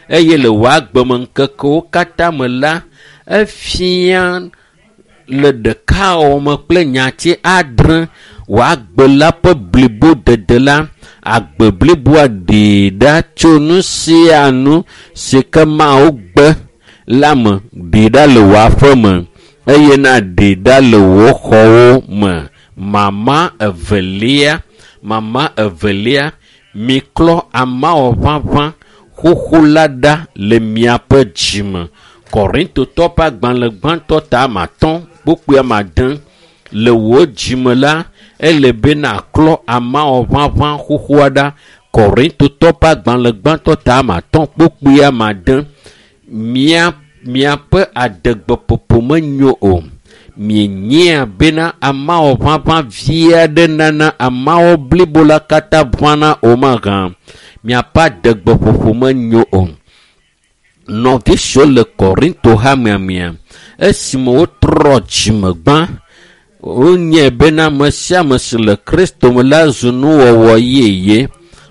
eye le wò agbemeŋkekewo katã me la, efia le ɖekawɔwɔ me kple nyati adre wò agbe la ƒe blibodede la, agbe bliboa ɖee ɖa tso nu sia nu si ke Mawu gbe la me, ɖee ɖa le wò aƒe me eye na ɖee ɖa le wò xɔwo me. Mama evelia, mama evelia, miklɔ amawɔ ʋaʋã xoxo la ɖa le miaƒe dzime. Korintotɔ ƒe agbalẽ gbãtɔ ta ame atɔ̃ kpukpui ame ade le wò dzime la, ele be nàklɔ amawɔ ʋaʋã xoxoa ɖa. Korintotɔ ƒe agbalẽ gbãtɔ ta ame atɔ̃ kpukpui ame ade. Mia miaƒe adegbeƒoƒo menyo o. Mienyea bena amawɔ ʋaʋã vi aɖe nana amawɔ blibo la katã ʋãna o mahã. Miaƒe adegbeƒoƒo menyo o. Nɔvi siwo le Korinto hamea mea, esime wotrɔ dzime gbã, wonyae bena ame sia ame si le Kristo me la zu nuwɔwɔ yeye.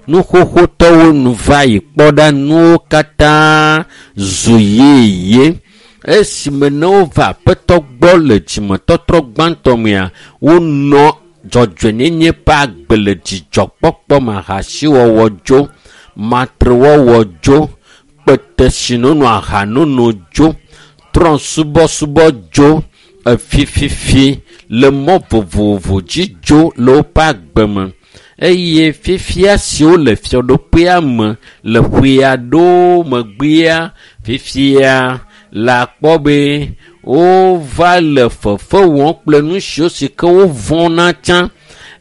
Nu xoxotɔwo nu va yi kpɔ ɖa nuwo katã zu yeye. Esime ne wova aƒetɔ gbɔ le dzimetɔtrɔ gbãtɔ mea, wonɔ dzɔdzɔenyenye ƒe agbe le dzidzɔkpɔkpɔ me, ahasiwɔwɔ dzo, matrewɔwɔ dzo, kpetesinono ahanono dzo, trɔ̃subɔsubɔ dzo, efififi le mɔ vovovo dzi dzo le woƒe agbe me. Eye fifia siwo le fiaɖuƒea me le ƒe aɖewo megbea, fifia la kpɔ be wova le fefe wɔm kple nu siwo si ke wovɔ̃na tsã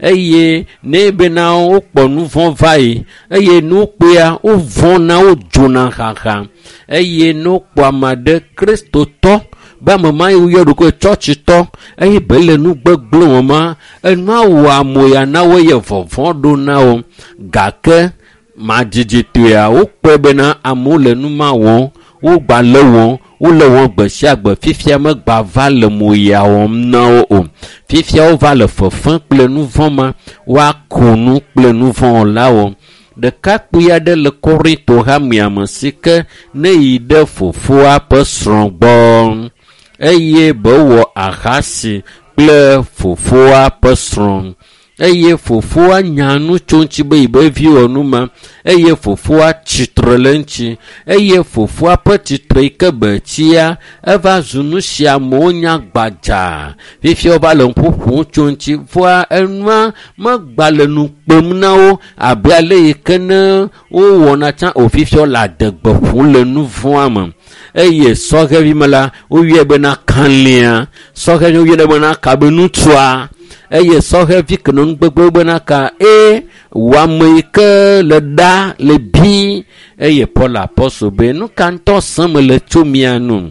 eye ne bena wokpɔ nu vɔ̃ va yi eye nu kpea wovɔ̃na wodzona xaxa eye ne wokpɔ ame aɖe kristotɔ be ame ma yi woyɔ ɖokui tsɔtsitɔ eye be le nu gbegblẽ wɔm ma enua wɔ amoya na wo eye vɔvɔ̃ ɖo na wo gake madzidzi,tɔea wokpɔe bena amewo le nu ma wɔm wogba le wɔm wole wɔm gbe sia gbe fifia megba va le moya wɔm na wo o fifia wova le fefe kple nu vɔ̃ ma woako nu kple nu vɔ̃ wɔlawo ɖekakpui aɖe le Korinto hamea me si ke ne yi ɖe fofoa ƒe srɔ̃ gbɔ eye be wɔ ahasi kple fofoa ƒe srɔ̃ eye fofoa nya nu tso ŋuti be yibe vi wɔ nu ma eye fofoa tsitre le ŋuti eye fofoa ƒe tsitre yi ke be tsia eva zu nu si amewo nya gbadzaa fifia wova le ŋku ƒom tso ŋuti vɔa enua megba le nu kpem na wo abe ale yi ke ne wowɔna tsã o fifia wole adegbe ƒom le nu vɔ̃a me eye sɔhevi me la woyɔe bena kalẽa sɔhevi woyɔnɛ bena ka be nutsua eye sɔhevi ke nɔ nugbegbe bena ka e wò ame yi ke le ɖa le bi eye Paul apɔstol be nu ka ŋutɔ sẽm le tso mia nu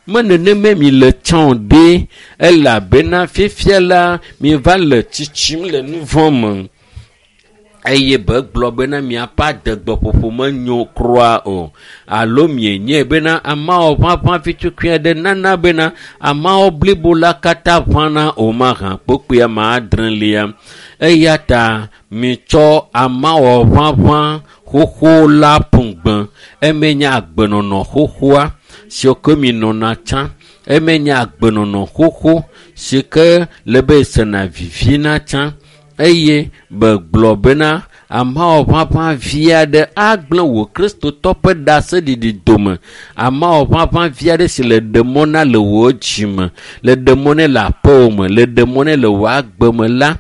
me nenema mi le tsã o ɖe elabena fifia la miva le tsitsim le nu vɔ̃ me eye be gblɔ bena miaƒe adegbeƒoƒo menyo kura o alo mienyae bena amawɔ ʋaʋã fitukui aɖe nana bena amawɔ blibo la katã ʋãna o mahã kpokpui ame adrelia eya ta mitsɔ amawɔ ʋaʋã xoxo la ƒu gbe eme nye agbenɔnɔ xoxoa siwo ke mi nɔna tsã eme nye agbenɔnɔ xoxo si ke le be sena vivina tsã eye be gblɔ bena amawɔ ʋaʋã vi aɖe agblẽ wò kristotɔ ƒe ɖaseɖiɖi dome amawɔ ʋaʋã vi aɖe si le ɖe mɔ na le wò dzime le ɖe mɔ nɛ le aƒewò me le ɖe mɔ nɛ le wò agbe me la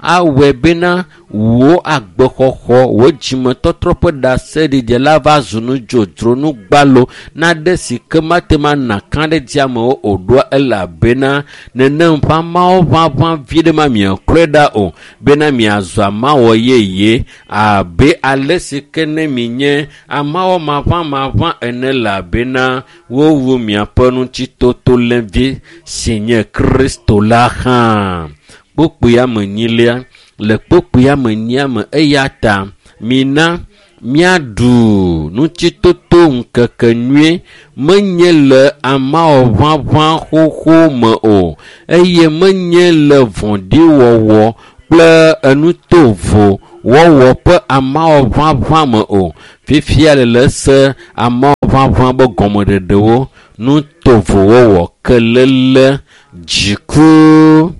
awɔe bena wò agbexɔxɔ wò dzimetɔtrɔ ƒe ɖaseɖiɖi la va zu nu dzodzro nu gbalo naɖe si ke mate ŋu ana kã ɖe dzi amewo o ɖoa elabena nenem ƒe amawo ʋaʋã vi ɖe ma miaklɔe ɖa o bena miazɔ amawɔ yeye abe ale si ke ne minye amawɔ maʋãmaʋã ene elabena wowu miaƒe ŋutitotolevi si nye Kristo la hã. Kpukpui ame enyilia le kpukpui ame enyia me eya ta mina míaɖu ŋutitoto ŋkeke nyui menye le amawɔ ʋaʋã xoxo me o eye menye le vɔ̃ɖiwɔwɔ kple enutovo wɔwɔ ƒe amawɔ ʋaʋã me o. Fifia le le se amawɔ ʋaʋã be gɔmeɖeɖewo, nutovowɔwɔ, kelele, dziku,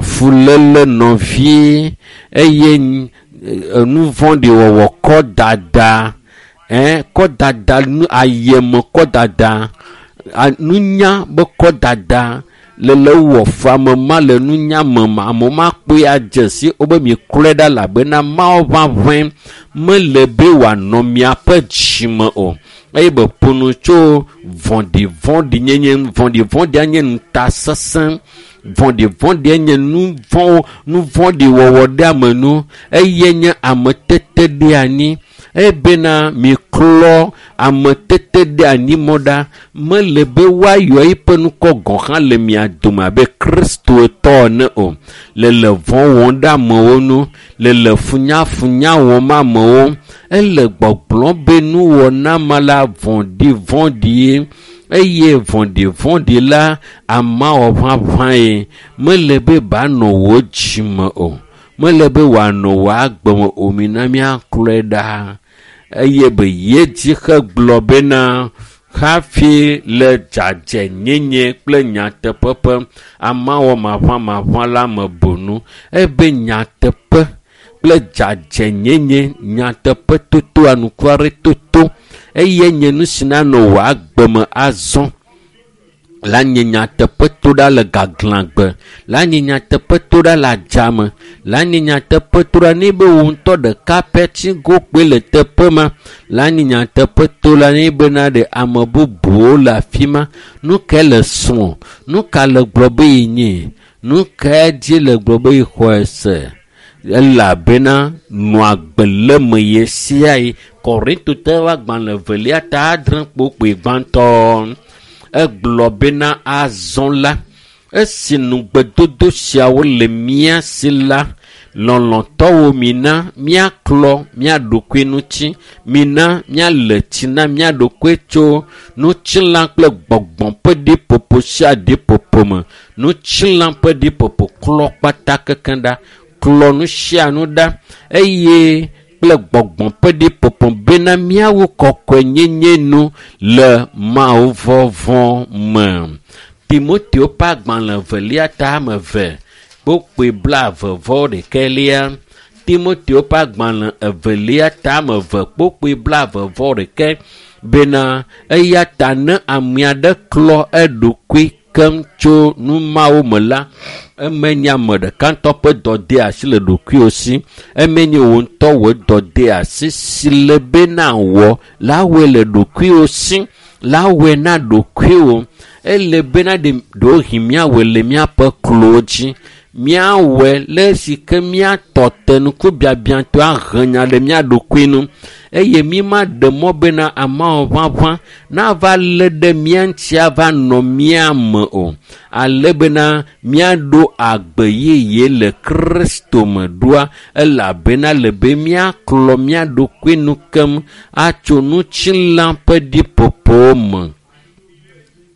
fuléle nɔvi eye nu vɔ̃ɖi wɔwɔ, kɔdada, kɔdada, ayeme kɔdada, nunya be kɔdada le le wɔ fu ame ma le nunya me ma amewo makpɔe adze si wobe miklɔe ɖa elabena Mawu ʋaʋãe mele be wòanɔ miaƒe dzime o. Eye be ƒo nu tso vɔ̃ɖivɔ̃ɖinyenye ŋu. Vɔ̃ɖivɔ̃ɖia nye ŋutasesẽ. Vɔ̃ɖivɔ̃ɖia nye nu vɔ̃wo, nu vɔ̃ɖi wɔwɔ ɖe ame nu eye nye ameteteɖeanyi. Ebena miklɔ ameteteɖeanyimɔ ɖa. Mele be woayɔ eƒe ŋkɔ gɔ̃ hã le mia dome abe Kristotɔ ene o. Le le vɔ̃ wɔm ɖe amewo ŋu, le le funyafunya wɔm amewo. Ele gbɔgblɔm be nuwɔna ma la vɔ̃ɖivɔ̃ɖie eye vɔ̃ɖivɔ̃ɖi la amawɔ ʋaʋãe. Mele be banɔ wò dzime o. Mele be wòanɔ wò agbe me o. Mina míaklɔe ɖa. Eye be yedzi hegblɔ bena hafi le dzadzɛnyenye kple nyateƒe ƒe amawɔ maʋamaʋã la me bonu. Ebe nyateƒe kple dzadzɛnyenye, nyateƒe toto, anukware toto eye nye nu si nanɔ wò agbe me azɔ. La nye nyateƒe to ɖa le gaglãgbe, la nye nyateƒe to ɖa le adzame, la nye nyateƒe to ɖa ne be wò ŋutɔ ɖeka pɛ tsi go kpoe le teƒe ma, la nye nyateƒe to ɖa ne bena ɖe ame bubuwo le afi ma. Nu kae le srɔ̃? Nu ka le gblɔ be yenye? Nu kae dzi le gblɔ be yexɔe se? Elabena nɔ agbe le me ɣe sia ɣi. Korintotɔwo agbalẽ evelia ta adre kpokpoe gbãtɔ. Egblɔ bena azɔ la, esi nugbedodo siawo le mía si la, lɔlɔ̃tɔwo mina míaklɔ mía ɖokui ŋuti, mina míale tsi na mía ɖokui tso ŋutilã kple gbɔgbɔ ƒe ɖiƒoƒo sia ɖiƒoƒo me. Ŋutilã ƒe ɖiƒoƒo klɔ kpata kekeŋ ɖa, klɔ nu sia nu ɖa eye kple gbɔgbɔ ƒe ɖiƒoƒo bena míawo kɔkɔenyenye nu le Mawu vɔvɔ̃ me. Timoteo ƒe agbalẽ evelia ta ame eve kpokpoe 21. Timoteo ƒe agbalẽ evelia ta ame eve kpokpoe 21 bena eya ta ne ame aɖe klɔ eɖokui keŋ tso nu mawo me la, eme nye ame ɖeka ŋutɔ ƒe dɔdeasi le ɖokuiwò si. Eme nye wò ŋutɔ wò dɔdeasi si le be nawɔ la wɔe le ɖokuiwò si, la wɔe na ɖokuiwò. Ele bena ɖe ɖewohĩ míawɔe le míaƒe klowo dzi. Míawɔe le esi ke míatɔ te ŋkubiabiatɔe ahe nya ɖe mía ɖokui ŋu eye mímaɖe mɔ bena ameawo ʋaʋã nava lé ɖe mía ŋuti ava nɔ mía me o. Ale bena míaɖo agbe yeye le Kristo me ɖoa elabena le be míaklɔ mía ɖokui nu keŋ atso ŋutilã ƒe ɖiƒoƒowo me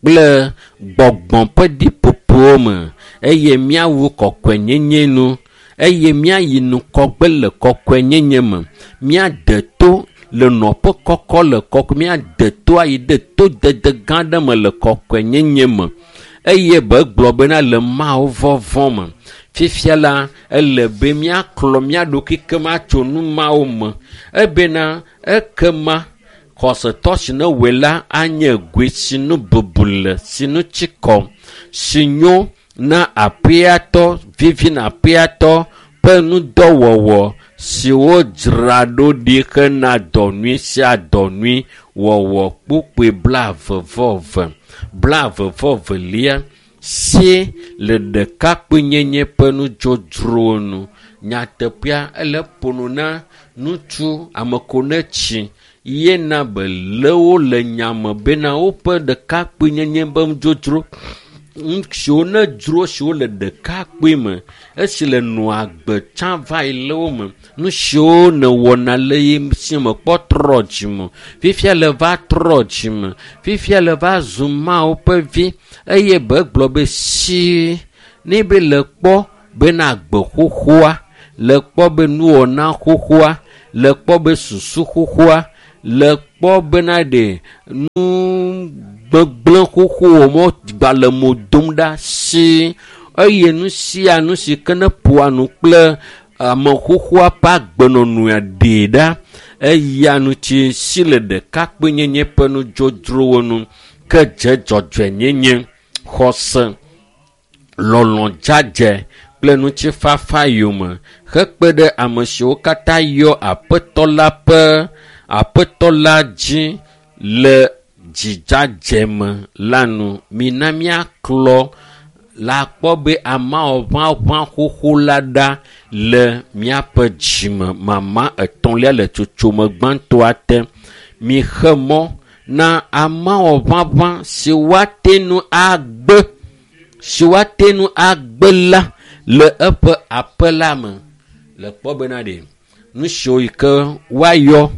kple gbɔgbɔ ƒe ɖiƒoƒowo me eye míawu kɔkɔenyenye nu eye míayi ŋgɔgbe le kɔkɔenyenye me. Míade to le nɔƒe kɔkɔ le kɔkɔe, míade to ayi ɖe to dede gã aɖe me le kɔkɔenyenye me eye be gblɔ bena le Mawu vɔvɔ̃ me. Fifia la, ele be míaklɔ mía ɖokui keŋ atso nu mawo me ebena ekema xɔsetɔ si ne wɔe la anye goe si nu bubu le, si nu tsi kɔ, si nyo na aƒeatɔ, vivi na aƒeatɔ ƒe ŋudɔwɔwɔ si wodzra ɖo ɖi hena dɔ nyui sia dɔ nyui wɔwɔ kpokpoe 22. 22 si le ɖekakpuinyenye ƒe nudzodzrowo nu. Nyateƒea ele ƒo nu na ŋutsu ame ko ne tsi yena be le wo le nyame bena woƒe ɖekakpuinyenye ƒe nudzodzro siwo ne dzro siwo le ɖekakpui me esi le nɔa agbe tsã va yi le wo me. Nu siwo nèwɔna le ye si me kpɔ trɔ dzime. Fifia le va trɔ dzime. Fifia le va zu Mawu ƒe vi eye be gblɔ be si ne be le kpɔ bena agbe xoxoa Le kpɔ be nuwɔna xoxoa, le kpɔ be susu xoxoa, le kpɔ bena ɖe nu gbegblẽ xoxo mɔ gba le mo dom ɖa si eye nu sia nu si ke ne ƒoa nu kple ame xoxoa ƒe agbenɔnɔa ɖee ɖa. Eya ŋuti si le ɖekakpuinyenye ƒe nudzodzrowo nu ke dze dzɔdzɔenyenye, xɔse, lɔlɔ̃ dzadzɛ kple ŋutifafa yome hekpe ɖe ame siwo katã yɔ Aƒetɔ la ƒe Aƒetɔ la dzi le dzidzadze me la nu. Mina míaklɔ la kpɔ be ameawo ʋaʋã xoxo la ɖa le míaƒe dzime. Mama etɔ̃lia le tsotsome gbãtɔa te. Mixe mɔ na ameawo ʋaʋã si woate ŋu agbe si woate ŋu agbe la le eƒe aƒe la me. Le kpɔ bena ɖe nu siwo yi ke woayɔ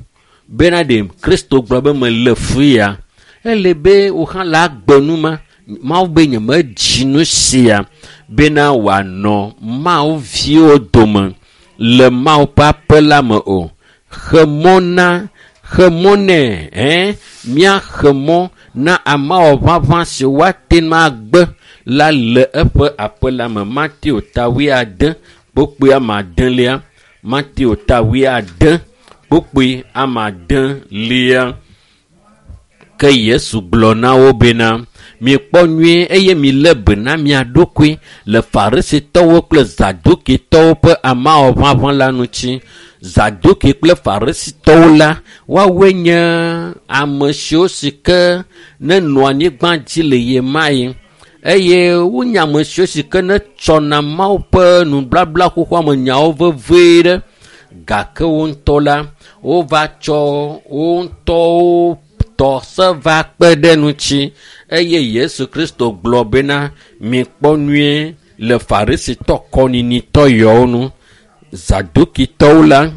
bena ɖe Kristo gblɔ be mele fu ya ele be wò hã le agbe nu ma. Mawu be nyemedzi nu sia bena wòanɔ Mawu viwo dome le Mawu ƒe aƒe la me o. Xe mɔ na xe mɔ nɛ ɛn míaxe mɔ na ameawo ʋaʋã si woate ŋu agbe la le eƒe aƒe la me. Mateo ta wuiade kpukpui ame adelia. Mateo ta wuiade kpukpui ame adelia. Ke Yesu gblɔ na wo bena, mikpɔ nyuie eye milé be na mia ɖokui le Farisitɔwo kple Zadukitɔwo ƒe ameawo ʋaʋã la ŋuti. Zaduki kple Farisitɔwo la, woawoe nye ame siwo si ke nenɔ anyigba dzi le ɣemaɣi eye wonye ame siwo si ke netsɔna Mawu ƒe nubabla xoxoa me nyawo vevie ɖe. Gake wo ŋutɔ la, wova tsɔ wo ŋutɔwo tɔ se va kpe ɖe ŋuti eye Yesu Kristo gblɔ bena mikpɔ nyuie le Farisitɔ kɔnyinitɔ yawo nu. Zadukitɔwo la,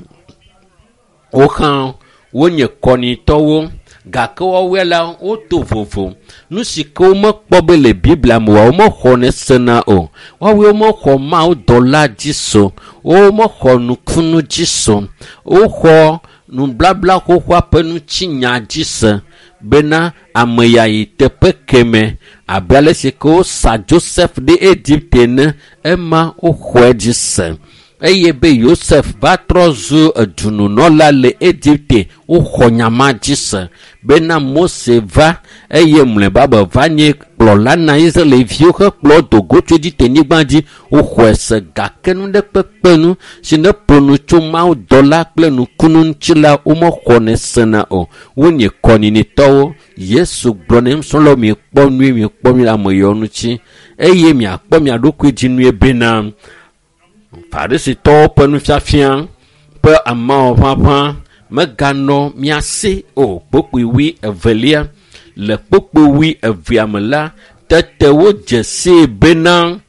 wo hã wonye kɔnyitɔwo gake woawoe la woto vovo. Nu si ke womekpɔ be le Biblia me oa, womexɔnɛ sena o. Woawoe womexɔ Mawu dɔla dzi se o. Womexɔ nukunu dzi se o. Woxɔ nubabla xoxoa ƒe ŋutinya dzi se bena ame ya yi teƒe keme abe ale si ke wosa Joseph ɖe Egipte ene, ema woxɔe dzi se. Eye be Yosef va trɔ zu edununɔla le Egipte, woxɔ nya ma dzi se bena Mose va eye mlɔeba be va nye kplɔla na Israelviwo hekplɔ wo do go tso Egipte-nyigba dzi, woxɔe se gake nu ɖe kpekpe nu si ne ƒo nu tso Mawu dɔla kple nukunu ŋuti la, womexɔnɛ sena o. Wonye kɔnyinitɔwo. Yesu gblɔ na nusrɔ̃lawo mikpɔ nyuie, mikpɔ nyuie le ame yawo ŋuti eye miakpɔ mia ɖokui dzi nyuie bena Farisitɔwo ƒe nufiafia ƒe ameawo ʋaʋã meganɔ mia si o. Kpukpui wui evelia. Le kpukpui wui evea me la, tete wodze sii bena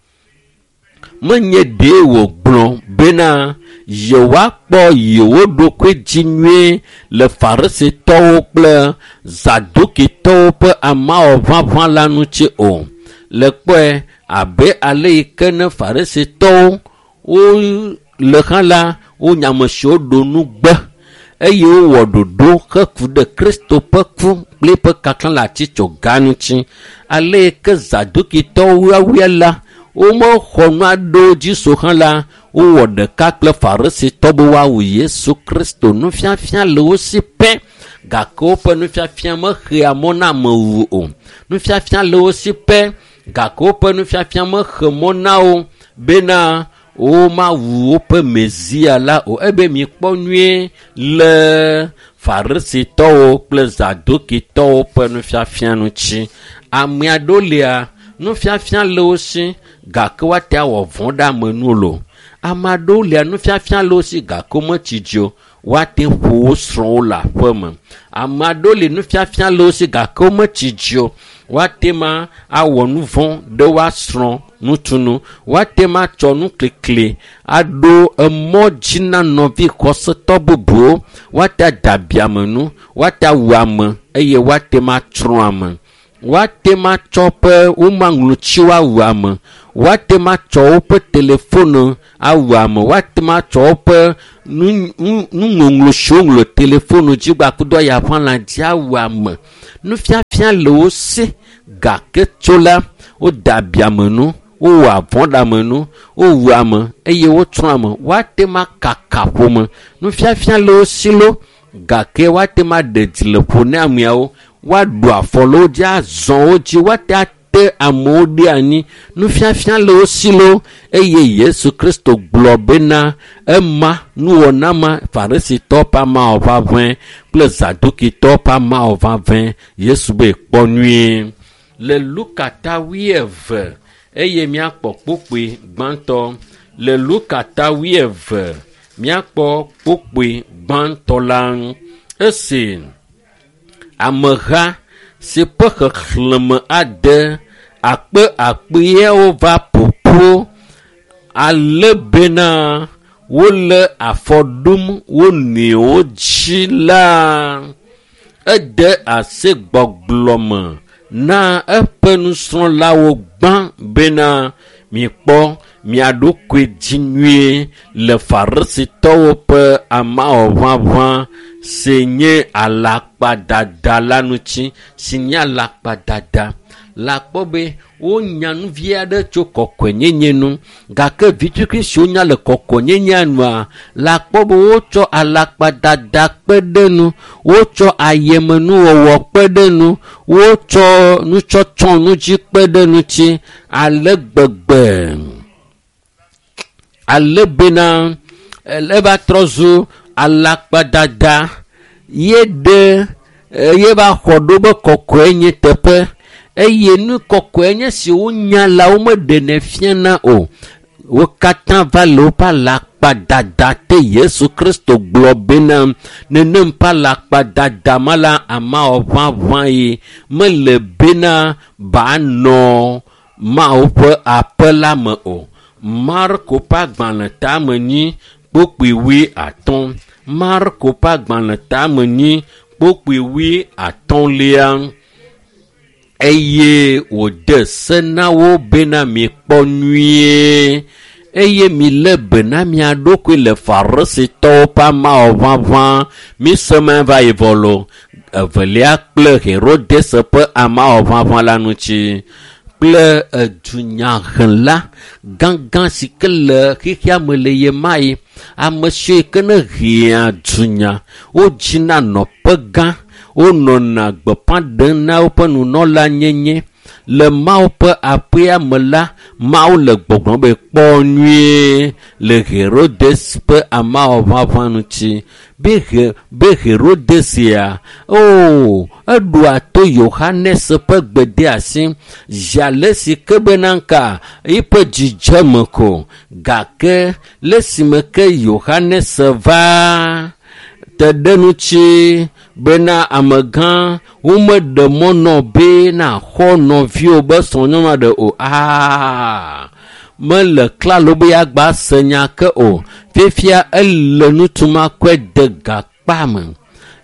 menye ɖee wògblɔ bena yewoakpɔ yewo ɖokui dzi nyuie le Farisitɔwo kple Zadukitɔwo ƒe ameawo ʋaʋã la ŋuti o. Le kpɔe abe ale yi ke ne Farisitɔwo wole hã la, wonye ame siwo ɖo nugbe eye wowɔ ɖoɖo heku ɖe Kristo ƒe ku kple eƒe kaklã le atitsoga ŋuti. Ale yi ke Zadukitɔwo woawoe la, womexɔ nu aɖewo dzi so hã la, wowɔ ɖeka kple Farisitɔ be woawu Yesu Kristo. Nufiafia le wo si pɛ gake woƒe nufiafia mexea mɔ na amewu o. Nufiafia le wo si pɛ gake woƒe nufiafia mexe mɔ na wo bena womawu woƒe Mesia la o. Ebe mikpɔ nyuie le Farisitɔwo kple Zadukitɔwo ƒe nufiafia ŋuti. Ame aɖewo lia, nufiafia le wo si gake woate awɔ vɔ̃ ɖe ame nu lo. Ame aɖewo lia, nufiafia le wo si gake wometsi dzi o. Woate ƒo wo srɔ̃wo le aƒe me. Ame aɖewo li nufiafia le wo si gake wometsi dzi o. Woate ma awɔ nu vɔ̃ ɖe woasrɔ̃ nutunu. Woate ma atsɔ nuklikli aɖo emɔ dzi na nɔvi xɔsetɔ bubuwo. Woate ada abiame nu, woate awu ame eye woate ma atsrɔ̃ ame. Woate ma atsɔ ƒe womaŋlɔtsiwo awu ame. Woate ŋu atsɔ woƒe telefonu awu ame, woate ŋu atsɔ woƒe nuŋɔŋlɔ siwo ŋlɔ telefonu dzi gbakudo ayaʋãlã dzi awu ame. Nufiafia le wo si gake tso la, woda abiame nu, wowɔ avɔ ɖe ame nu, wowu ame eye wotsrɔ̃ ame. Woate ŋu akaka ƒome. Nufiafia le wo si lo gake woate ŋu aɖe dzi le ƒo ne ameawo. Woaɖu afɔ le wo dzi, azɔ wo dzi, woate ate amewo ɖe anyi. Nufiafia le wo si lo eye Yesu Kristo gblɔ bena ema nuwɔna ma Farisitɔwo ƒe amawɔ ʋaʋẽ kple Zadukitɔwo ƒe amawɔ ʋaʋẽ. Yesu be kpɔ nyuie. Le Luka ta 20 eye míakpɔ kpukpui gbãtɔ. Le Luka ta 20 míakpɔ kpukpui gbãtɔ la. Esi ameha si ƒe xexlẽme ade akpe akpeawo va ƒoƒu ale bena wole afɔ ɖum wo nɔewo dzi la, ede asi gbɔgblɔ me na eƒe nusrɔ̃lawo gbã bena mikpɔ mia ɖokui dzi nyuie le Farisitɔwo ƒe amawɔʋaʋã si nye alakpadada la ŋuti, si nye alakpadada. La kpɔ be wonya nu vi aɖe tso kɔkɔenyenye nu gake vitukui siwo nya le kɔkɔenyenyea nua la kpɔ be wotsɔ alakpadada kpe ɖe nu, wotsɔ ayemenuwɔwɔ kpe ɖe nu, wotsɔ nutsɔtsɔ nu dzi kpe ɖe ŋuti ale gbegbe. Ale bena eva trɔ zu alakpadada ye ɖe ye va xɔ ɖo be kɔkɔe nye teƒe eye nu kɔkɔe nye si wonya la womeɖenɛ fiana o. Wo katã va le woƒe alakpadada te. Yesu Kristo gblɔ bena nenem ƒe alakpadada ma la amawɔ ʋaʋã ye mele bena banɔ Mawu ƒe aƒe la me o. Marko ƒe agbalẽ tame nyi kpukpui 50. Marko ƒe agbalẽ tame nyi kpukpui 50. Eye wòde se na wo bena mikpɔ nyuie eye milé be na mia ɖokui le Farisitɔwo ƒe amawɔ ʋaʋã. Mise ma va yi vɔ lo. Evelia kple Herodes ƒe amawɔ ʋaʋã la ŋuti kple edunyahela gãgã si ke le xexea me le ɣe ma ɣi. Ame siwo ke ne hea dunya, wodzina nɔƒe gã, wonɔna gbeƒã ɖem na woƒe nunɔlanyenye. Le Mawu ƒe aƒea me la, Mawu le gbɔgblɔm be kpɔ nyuie le Herodes ƒe amawɔ ʋaʋã ŋuti. Be Herodes ya, o eɖoa to Yohanes ƒe gbedeasi zi ale si ke bena ŋka eƒe dzidzeme ko. Gake le esime ke Yohanes va te ɖe ŋuti bena amegã womeɖe mɔ nɔ be naxɔ nɔviwo be srɔ̃nyɔnu aɖe o. Aa mele klalo be yeagba se nya ke o. Fifia ele nutuma kɔe de gakpa me.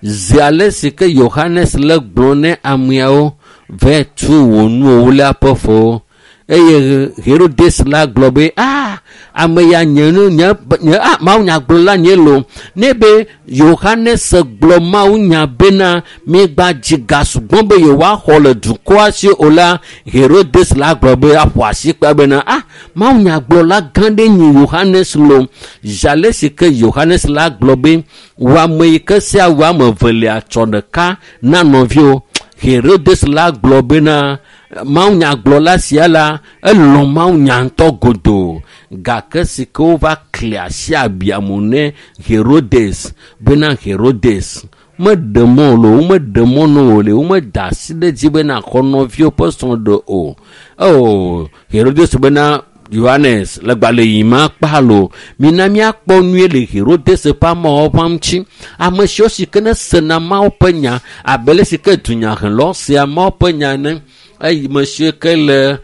Zi ale si ke Yohanes le gblɔ ne ameawo vɛ tu wò nuwo le aƒe fo. Eye Herodes la gblɔ be aa ame ya nye nu nye nye a mawunyagblɔla nye lo. Ne be Yohanes gblɔ mawunya bena miegba dzi ga sugbɔ be yewoaxɔ le dukɔa si o la, Herodes la gblɔ be aƒo asi kpe bena a mawunyagblɔla gã ɖe nyi Yohanes lo. Zi ale si ke Yohanes la gblɔ be wò ame yi ke sia wò ame evelia tsɔ ɖeka na nɔviwo. Herodes la gblɔ bena mawunyagblɔla sia la elɔ̃ mawunya ŋutɔ godoo gake si ke wova kli asi abiamu ne Herodes bena Herodes meɖe mɔ lo, womeɖe mɔ na wò le, womeda asi ɖe edzi bena xɔ nɔviwo ƒe srɔ̃ ɖe o. O Herodes bena Yohanes le gbalẽ yi ma kpa lo. Mina míakpɔ nyuie le Herodes ƒe amewo ƒe ŋuti. Ame siwo si ke ne sena Mawu ƒe nya abe le si ke dunyahelɔ sea Mawu ƒe nya ene. Eye ame siwo ke le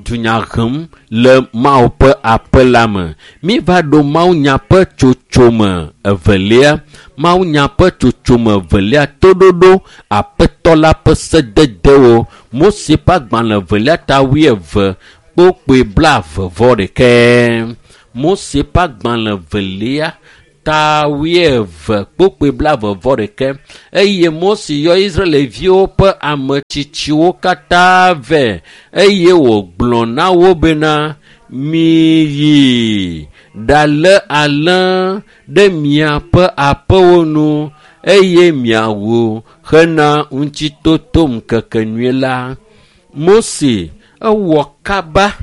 dunya hem le Mawu ƒe aƒe la me. Míva ɖo mawunya ƒe tsotsome evelia. Mawunya ƒe tsotsome evelia toɖoɖo aƒetɔ la ƒe sededewo. Mose ƒe agbalẽ evelia ta 20 Kpokpoe 21. Mose ƒe agbalẽ 2 ta 20 kpokpoe 21. Eye Mose yɔ Israelviwo ƒe ametsitsiwo katã vɛ eye wògblɔ na wo bena, miyi ɖalé alẽ ɖe miaƒe aƒewo nu eye miawu hena ŋutitotoŋkekenyui la. Mose ewɔ kaba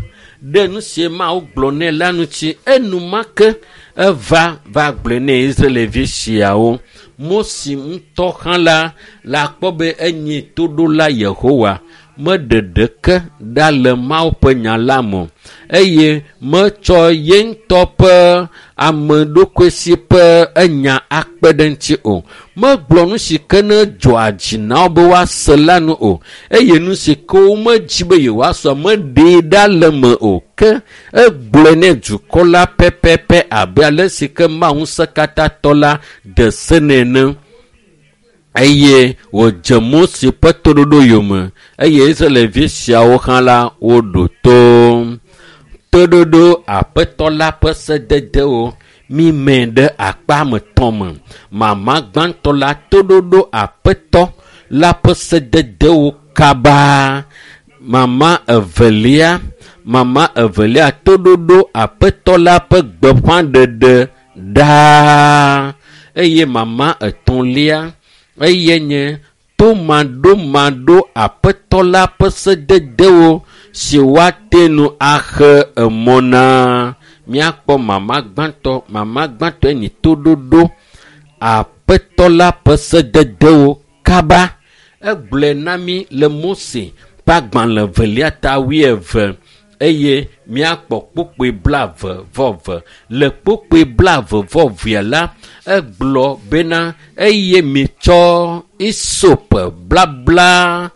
ɖe nu si Mawu gblɔ nɛ la ŋuti. Enumake eva va gblɔe nɛ Israelvi siawo. Mose ŋutɔ hã la le akpɔ be enye toɖola Yehowa. Meɖe ɖeke ɖa le Mawu ƒe nya la me o eye metsɔ ye ŋutɔ ƒe ame ɖokui si ƒe enya akpe ɖe ŋuti o. Megblɔ nu si ke ne dzɔa dzi na wo be woase la nu o eye nu si ke womedzi be yewoase meɖee ɖa le me o. Ke egblɔe ne dukɔ la pɛpɛpɛ abe ale si ke Mawu ŋusẽkatãtɔ la de se nɛ ene. Eye wòdze Mose ƒe toɖoɖo yome eye Israelvi siawo hã la woɖo to. Toɖoɖo Aƒetɔ la ƒe sededewo mime ɖe akpa me tɔ̃ me. Mama gbãtɔ la toɖoɖo Aƒetɔ la ƒe sededewo kaba. Mama evelia toɖoɖo Aƒetɔ la ƒe gbeƒãɖeɖe ɖaa. Eye mama etɔ̃lia eye nye tomaɖomaɖo Aƒetɔ la ƒe sededewo si woate ŋu axe emɔ na. Míakpɔ mama gbãtɔ. Mama gbãtɔe nye toɖoɖo Aƒetɔ la ƒe sededewo kaba. Egblɔe na mí le Mose ƒe agbalẽ 2 ta 20 eye míakpɔ kpokpoe 22. Le kpokpoe 22 la, egblɔ bena eye mitsɔ isop blabla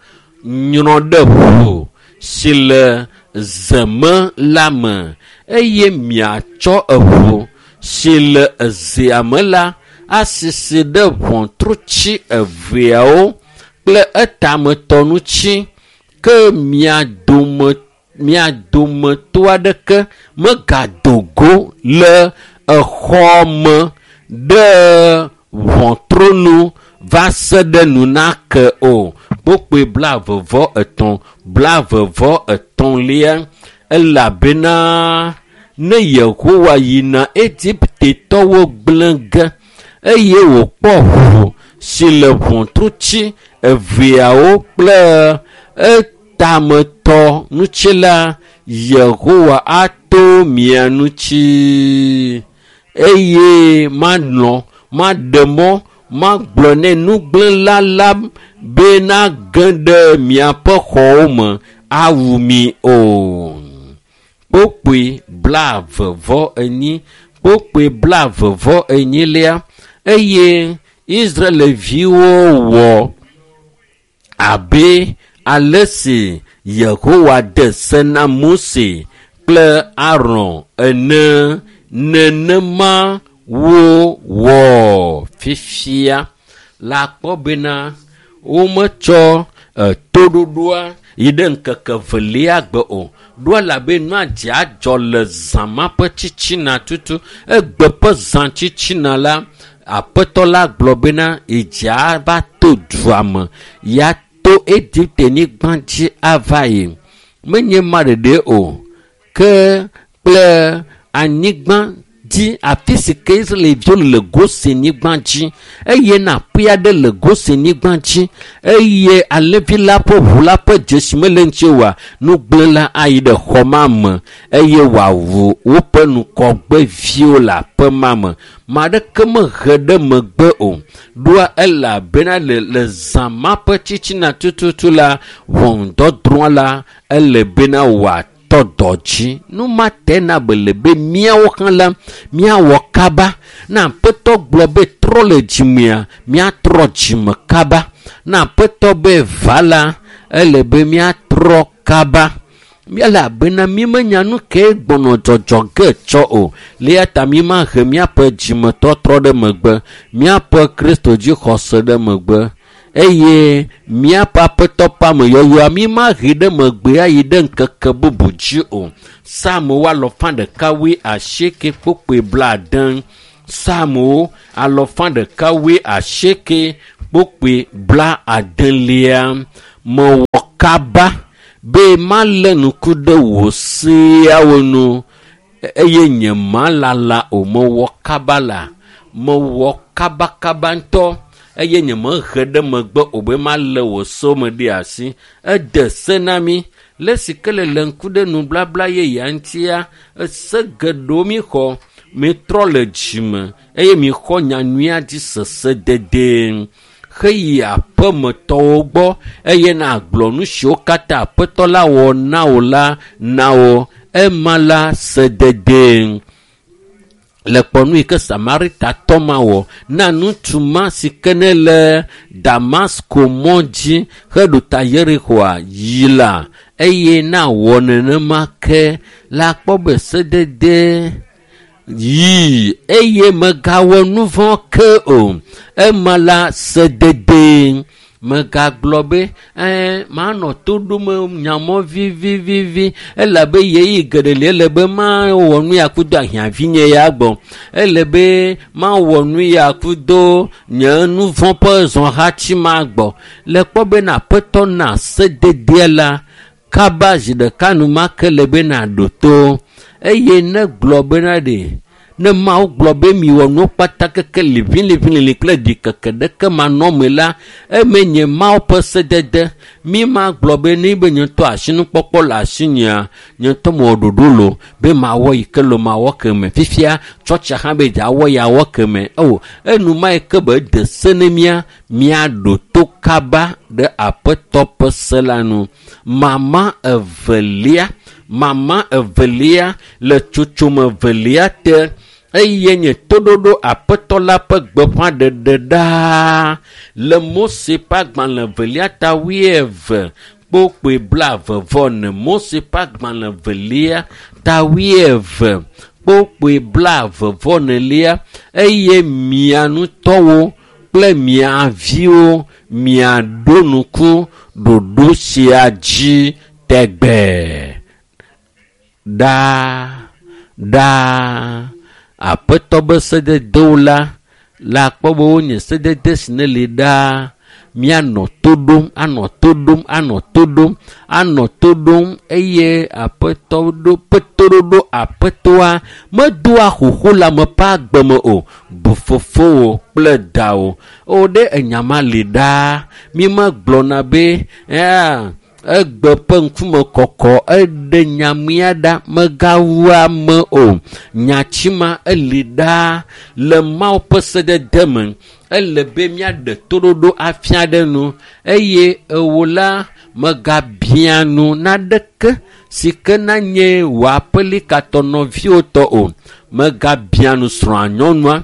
nyrɔ ɖe ʋu si le zeme la me eye miatsɔ eʋu si le ezea me la asisi ɖe ʋɔtrutsi eveawo kple etametɔ ŋuti ke mia dometɔ aɖeke megado go le exɔ me ɖe ʋɔtru nu va se ɖe nu nake o. Kpokpoe 23 23 elabena ne Yehowa yina Egiptetɔwo gblẽ ge eye wòkpɔ ʋu si le ʋɔtrutsi eveawo kple etametɔ ŋuti la, Yehowa ato mia ŋuti eye malɔ̃ maɖe mɔ magblɔ nɛ nugblẽla la be nage ɖe miaƒe xɔwo me awu mi o. Kpokpoe 24 kpokpoe 24 eye Israelviwo wɔ abe ale si Yehowa de se na Mose kple Aron ene nenema wowɔ fifia. La kpɔ bena wometsɔ toɖoɖoa yi ɖe ŋkeke velia gbe o. Ɖo elabe nua dze adzɔ le zã ma ƒe tsitsina tutu. Egbe ƒe zã tsitsina la, Aƒetɔ la gblɔ bena yedze ava to dua me, ya to Egipte-nyigba dzi ava yi. Menye ma ɖeɖe o, ke kple anyigba dzi afi si ke Israelviwo le Gosenyigba dzi eye na aƒe aɖe le Gosenyigba dzi eye alẽvi la ƒe ʋu la ƒe dzesi mele ŋuti oa, nugblẽla ayi ɖe xɔ ma me eye wòawu woƒe ŋkɔgbeviwo le aƒe ma me. Ma aɖeke mehe ɖe megbe o. Ɖoa elabena le zã ma ƒe tsitsina tututu la, ʋɔnudɔdrɔ̃ la ele bena wòatɔ dɔ dzi. Nu ma te na be le be míawo hã la míawɔ kaba. Ne Aƒetɔ gblɔ be trɔ le dzimea, míatrɔ dzime kaba. Ne Aƒetɔ be va la, ele be míatrɔ kaba. Elabena mímenya nu ke gbɔnɔ dzɔdzɔ ge tsɔ o. Le eya ta mímahe míaƒe dzimetɔtrɔ ɖe megbe, míaƒe Kristo dzixɔse ɖe megbe. Eye míaƒe aƒetɔ ƒe ameyɔyɔa mi mahe ɖe megbe ayi ɖe ŋkeke bubu dzi o. Psalmo 118. Psalmo 180. Mewɔ kaba be malé ŋku ɖe wò seawo nu eye nye malala o. Mewɔ kaba la, mewɔ kabakaba ŋutɔ eye nye mehe ɖe megbe o be malé wò sewo me ɖe asi. Ede se na mi le si ke le le ŋku ɖe nublabla yeyea ŋutia, ese geɖewo mi xɔ, mitrɔ le dzime eye mixɔ nyanyuia dzi sese dede. Heyi aƒemetɔwo gbɔ eye nàgblɔ nu siwo katã aƒetɔ la wɔ na wò la na wo. Ema la sedede. Le kpɔnu yi ke Samaritatɔ ma wɔ na ŋutsu ma si ke ne le Damasko mɔ dzi heɖo ta Yerixoa yi la eye na wɔ nenema ke la kpɔ be sedede yi eye megawɔ nu vɔ̃ ke o. Ema la sedede. Megagblɔ be manɔ to ɖom nyamɔ vivivivi elabe ɣeyiɣi geɖe li ele be mawɔ nu ya kudo ahiãvinye ya gbɔ. Ele be mawɔ nu ya kudo nye nu vɔ̃ ƒe zɔhatsi ma gbɔ. Le kpɔ be na aƒetɔ na sededea la kaba zi ɖeka enumake le be nàɖo to eye ne gblɔ bena ɖe ne Mawu gblɔ be miwɔ nuwo kpata keke liʋĩliʋĩlilĩ kple ɖikeke ɖeke manɔme la, eme nye Mawu ƒe sedede. Mi ma gblɔ be ne be nye ŋutɔ asinukpɔkpɔ le asinyea, nye ŋutɔ mewɔ ɖoɖo lo be mawɔ yi ke lo mawɔ keme. Fifia tsɔtsia hã be dzeawɔ ya wɔ keme. O enuma yi ke be de se ne mía, míaɖo to kaba ɖe aƒetɔ ƒe se la nu. Mama evelia le tsotsome evelia te eye nye toɖoɖo aƒetɔ la ƒe gbeƒãɖeɖe ɖaa le Mose ƒe agbalẽ evelia ta 22:24. Mose ƒe agbalẽ evelia ta 22:24 eye mia ŋutɔwo kple mia viwo miaɖo ŋku ɖoɖo sia dzi tɛgbɛɛ. Ɖaa ɖaa aƒetɔ be sededewo la la kpɔ be wonye sedede si ne li ɖaa. Míanɔ to ɖom, anɔ to ɖom, anɔ to ɖom, anɔ to ɖom eye aƒetɔ ɖo ƒe toɖoɖo aƒetɔa medoa xoxo le ame ƒe agbe me o. Bu fofowò kple dawò. O ɖe enya ma li ɖaa. Mi megblɔna be egbe ƒe ŋkume kɔkɔ eɖe nyamia ɖa megawu ame o. Nyatsi ma eli ɖaa le Mawu ƒe sedede me. Ele be míaɖe toɖoɖo afia ɖe nu eye ewo la megabia nu naɖeke si ke nanye wò aƒelikatɔ nɔviwo tɔ o. Megabia nu srɔ̃a nyɔnua,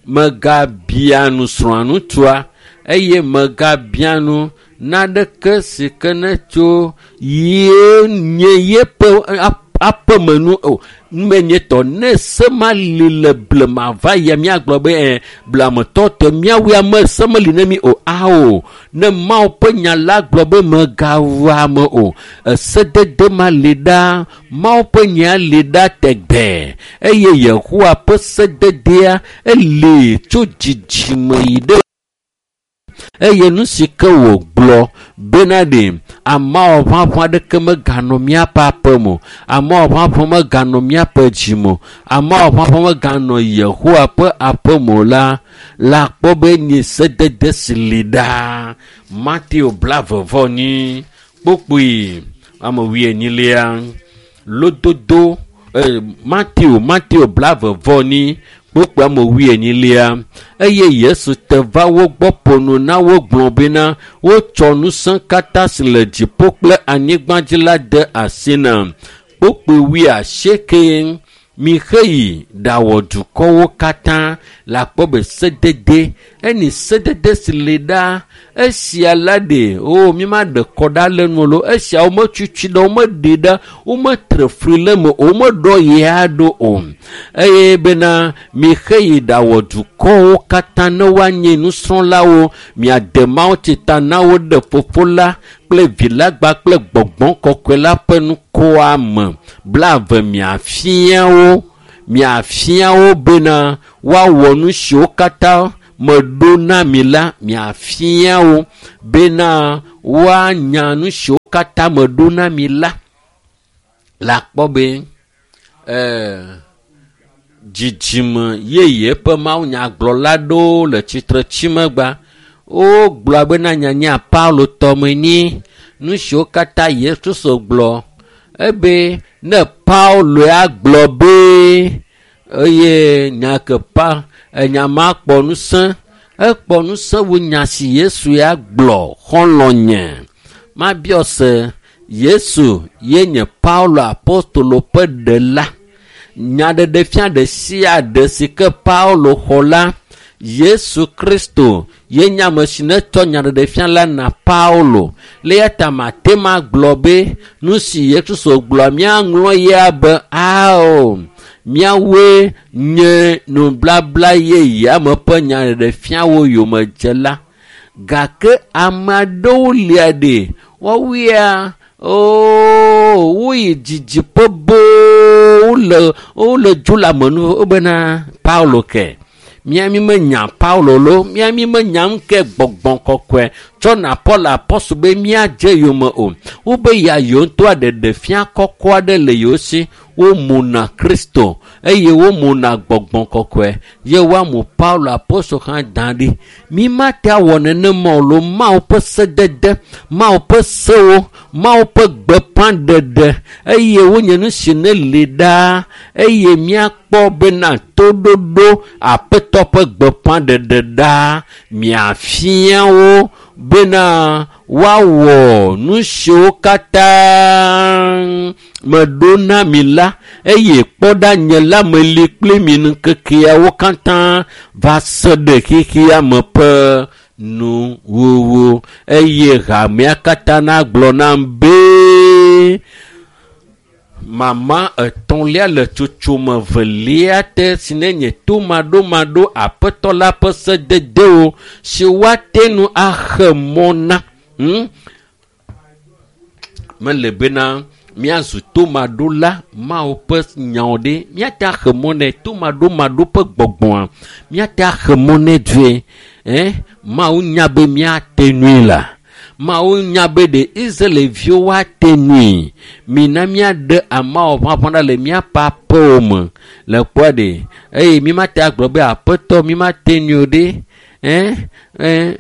megabia nu srɔ̃a ŋutsua eye megabia nu naɖeke si ke ne tso ye nye yeƒe aƒemenu o. Numenyetɔ ne se ma li le blema va yia míagblɔ be blematɔ tɔ míawoe ame se meli ne mi o. Ao, ne Mawu ƒe nya la gblɔ be megawu ame o. Esedede ma li ɖaa, Mawu ƒe nya li ɖa tɛgbɛɛ eye Yehowa ƒe sededea eli tso dzidzime yi ɖe eye nu si ke wògblɔ bena ɖe ameawo ʋaʋã ɖeke meganɔ míaƒe aƒe me o, ameawo ʋaʋã meganɔ míaƒe dzi me o, ameawo ʋaʋã meganɔ Yehowa ƒe aƒe me o la, la kpɔ be nye sedede si li ɖaa. Mateo 22 kpokpoe ame wuienyilia lododo Mateo 22 kpokpoe ame wuienyilia eye Yesu te va wo gbɔ ƒo nu na wo gblɔ bena wotsɔ ŋusẽ katã si le dziƒo kple anyigba dzi la de asi nam. Kpokpoe 80 miheyi ɖawɔ dukɔwo katã la kpɔ be sedede eni sedede si li ɖaa Esia la ɖe o mímaɖe kɔ ɖa le nu lo. Esia wometutu ɖe, womeɖe ɖa, wometre fli le me o, womeɖɔ yia ɖo o. Eye bena mixe yi ɖawɔ dukɔwo katã ne woanye nusrɔ̃lawo, miade mawutsi ta na wo ɖe Fofo la kple Vi la gba kple Gbɔgbɔ Kɔkɔe la ƒe ŋkɔa me. 20 miafia wo bena woawɔ nu siwo katã meɖo na mi la, miafia wo bena woanya nu siwo katã meɖo na mi la. Le akpɔ be dzidzime yeye ƒe mawunyagblɔla ɖewo le tsitre tsimegba. Wogblɔ bena nyanya Paulo tɔme nyi nu siwo katã Yesu Kristo gblɔ. Ebe ne Paulo ya gblɔ be eye nya ke pa enya ma kpɔ ŋusẽ, ekpɔ ŋusẽ wu nya si Yesu ya gblɔ xɔlɔ̃nye. Mabiɔ se Yesu ye nye Paulo apostolo ƒe ɖela. Nyaɖeɖefia ɖe sia ɖe si ke Paulo xɔ la, Yesu Kristo ye nye ame si netsɔ nyaɖeɖefia la na Paulo. Le eya ta mate ma gblɔ be nu si Yesu Kristo gblɔ míaŋlɔ ya be ao míawoe nye nublabla yeyea me ƒe nyaɖeɖefiawo yomedzela. Gake ame aɖewo lia ɖe woawoea woyi didiƒe boo wole dzo le ame nu wobena Paulo ke. Míami menya Paulo lo, míami menya nu ke Gbɔgbɔ Kɔkɔe tsɔ na Paul apɔstol be míadze yome o. Wobe ya yewo ŋutɔ aɖeɖefia kɔkɔ aɖe le yewo si. Womuna Kristo eye womuna Gbɔgbɔ Kɔkɔe ye woamu Paulo apɔstol hã da ɖi. Mímate awɔ nenema o lo. Mawu ƒe sedede, Mawu ƒe sewo, Mawu ƒe gbeƒãɖeɖe eye wonye nu si ne li ɖaa eye míakpɔ bena toɖoɖo Aƒetɔ ƒe gbeƒãɖeɖe ɖaa miafia wo bena woawɔ nu siwo katã meɖo na mi la eye kpɔ ɖa nye la meli kpli mi ŋkekeawo katã va se ɖe xexea me ƒe nuwuwu. Eye hamea katã nagblɔ nam be mama etɔ̃lia le tsotsome velia te si ne nye tomaɖomaɖo Aƒetɔ la ƒe sededewo si woate ŋu axe mɔ na. Mele bena míazu tomaɖola Mawu ƒe nyawo ɖe míate axe mɔ nɛ tomaɖomaɖo ƒe gbɔgbɔa míate axe mɔ nɛ dzoe. Mawu nya be míate nui la. Mawu nya be ɖe Israelviwo woate nui. Mina míaɖe ameawo ʋaʋã ɖa le míaƒe aƒewo me le kpɔa ɖe eye mímate agblɔ be Aƒetɔ mímate nui o ɖe.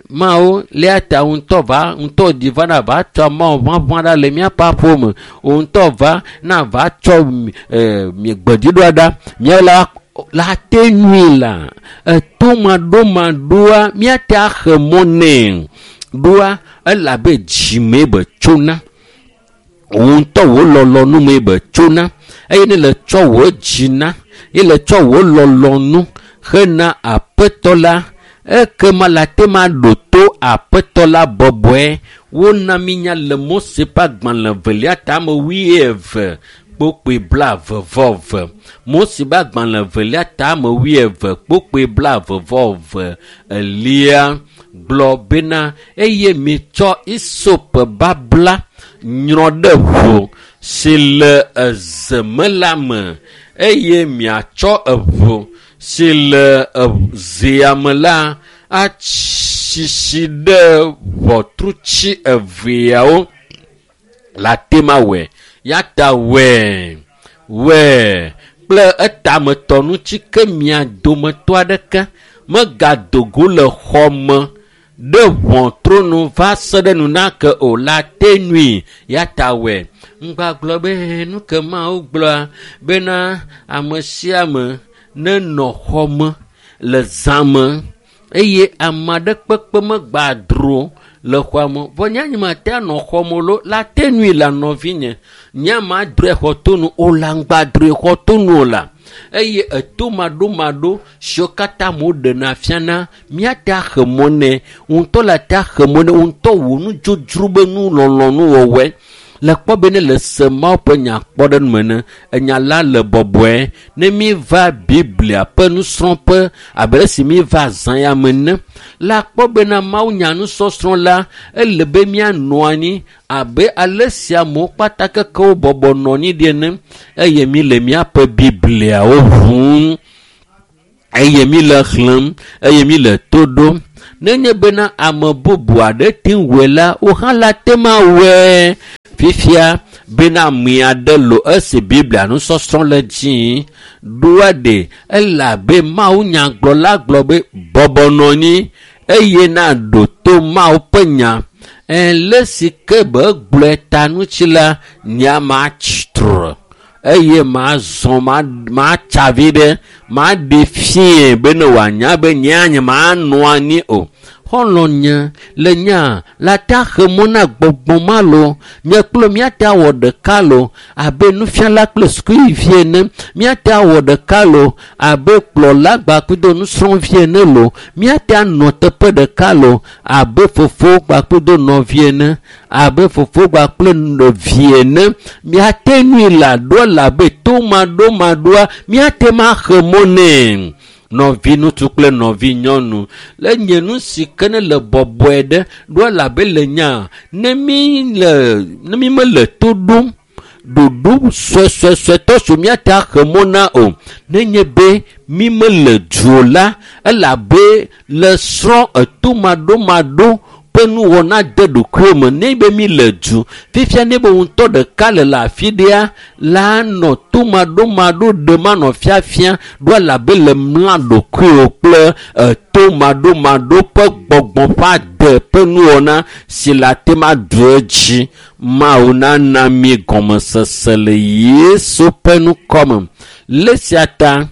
Mawu lia ta ŋutɔ va ŋutɔ dzi va na va tsɔ ameawo ʋaʋã ɖa le míaƒe aƒewo me. Wo ŋutɔ va na va tsɔ gbedziɖoa ɖa míawo la te nui la. Etomaɖomaɖoa míate axe mɔ nɛ ɖoa elabe dzime be tsona. Wò ŋutɔ wò lɔlɔ̃nu mee be tsona eye ne le tsɔ wò dzi na ye le tsɔ wò lɔlɔ̃nu hena Aƒetɔ la ekema la te ma ɖo to Aƒetɔ la bɔbɔe. Wona mínya le Mose ƒe agbalẽ velia tame 22 kpokpoe 22. Mose ƒe agbalẽ velia tame 22 kpokpoe 22 elia gblɔ bena eye mitsɔ isop babla nyrɔ ɖe ʋu si le eze me la me eye miatsɔ eʋu si le zea me la atsisi ɖe ʋɔtrutsi eveawo la te ma wɔe. Ya ta wɔe kple etametɔ ŋuti ke mia dometɔ aɖeke megado go le xɔ me ɖe ʋɔtru nu va se ɖe nu nake o la te nui. Ya ta wɔe. Ŋgbagblɔ be nu ke Mawu gblɔa bena ame sia ame nenɔ xɔ me le zã me eye ame aɖe kpekpe megba dro le xɔa me. Vɔ nye mate anɔ xɔ me lo la te nui la nɔvinye. Nye ma drɔe xɔ to nu o la ŋgba drɔe xɔ to nu o la. Eye etomaɖomaɖo siwo katã amewo ɖena fiana, míate axe mɔ nɛ. Ŋutɔ le ate axe mɔ nɛ. Ŋutɔ wò nudzodzro be nu lɔlɔ̃nuwɔwɔe. Le kpɔ be ne le se Mawu ƒe nya kpɔ ɖe nu me ne, enya la le bɔbɔe. Ne míeva Biblia ƒe nusrɔ̃ƒe abe esi míeva azã ya me ene, la kpɔ bena Mawu nya nusɔsrɔ̃ la, ele be míanɔ anyi abe ale si amewo kpata kekewo bɔbɔ nɔ anyi ɖi ene eye míle míaƒe Bibliawo ʋum eye míle xlẽm eye míle to ɖom. Nenye bena ame bubu aɖe te ŋu wɔe la, wò hã la te ŋu awɔe. Fifia bena ame aɖe lo esi Biblia nusɔsrɔ̃ le dzi ɖoa ɖe ele abe Mawu nyagblɔla gblɔ be bɔbɔ nɔ anyi eye naɖo to Mawu ƒe nya. Le si ke be gblɔe ta ŋuti la, nya matsi tre eye mazɔ matsa vi ɖe maɖe fie be ne wòanya be nyea nye manɔ anyi o. Xɔlɔ̃ nye le nya la ta xe mɔ na gbɔgbɔ ma lo. Nye kple míate awɔ ɖeka lo abe nufiala kple sukuvi ene. Míate awɔ ɖeka lo abe kplɔla kpakple nusrɔ̃vi ene lo. Míate anɔ teƒe ɖeka lo abe fofo kpakple nɔvi ene, abe fofo kpakple vi ene. Míate nui le aɖoa le abe tomaɖomaɖoa míate ma xe mɔ nɛ. Nɔvi ŋutsu kple nɔvi nyɔnu le nye nu si ke ne le bɔbɔe ɖe ɖoa le abe le nya ne mi le ne mi mele to ɖom ɖoɖo suesuesuetɔ so míate axe mɔ na o. Nenye be mi mele du o la, ele abe le srɔ̃ etomaɖomaɖo ƒe nuwɔna de ɖokuiwo me. Ne be mi le du fifia ne be ŋutɔ ɖeka le le afi ɖea la nɔ tomaɖomaɖo ɖem anɔ fiafia ɖoa le abe le mla ɖokuiwo kple etomaɖomaɖo ƒe gbɔgbɔ ƒe ade ƒe nuwɔna si le ate ŋu aɖu edzi. Mawu nana mi gɔmesese le Yesu ƒe ŋkɔme. Le sia ta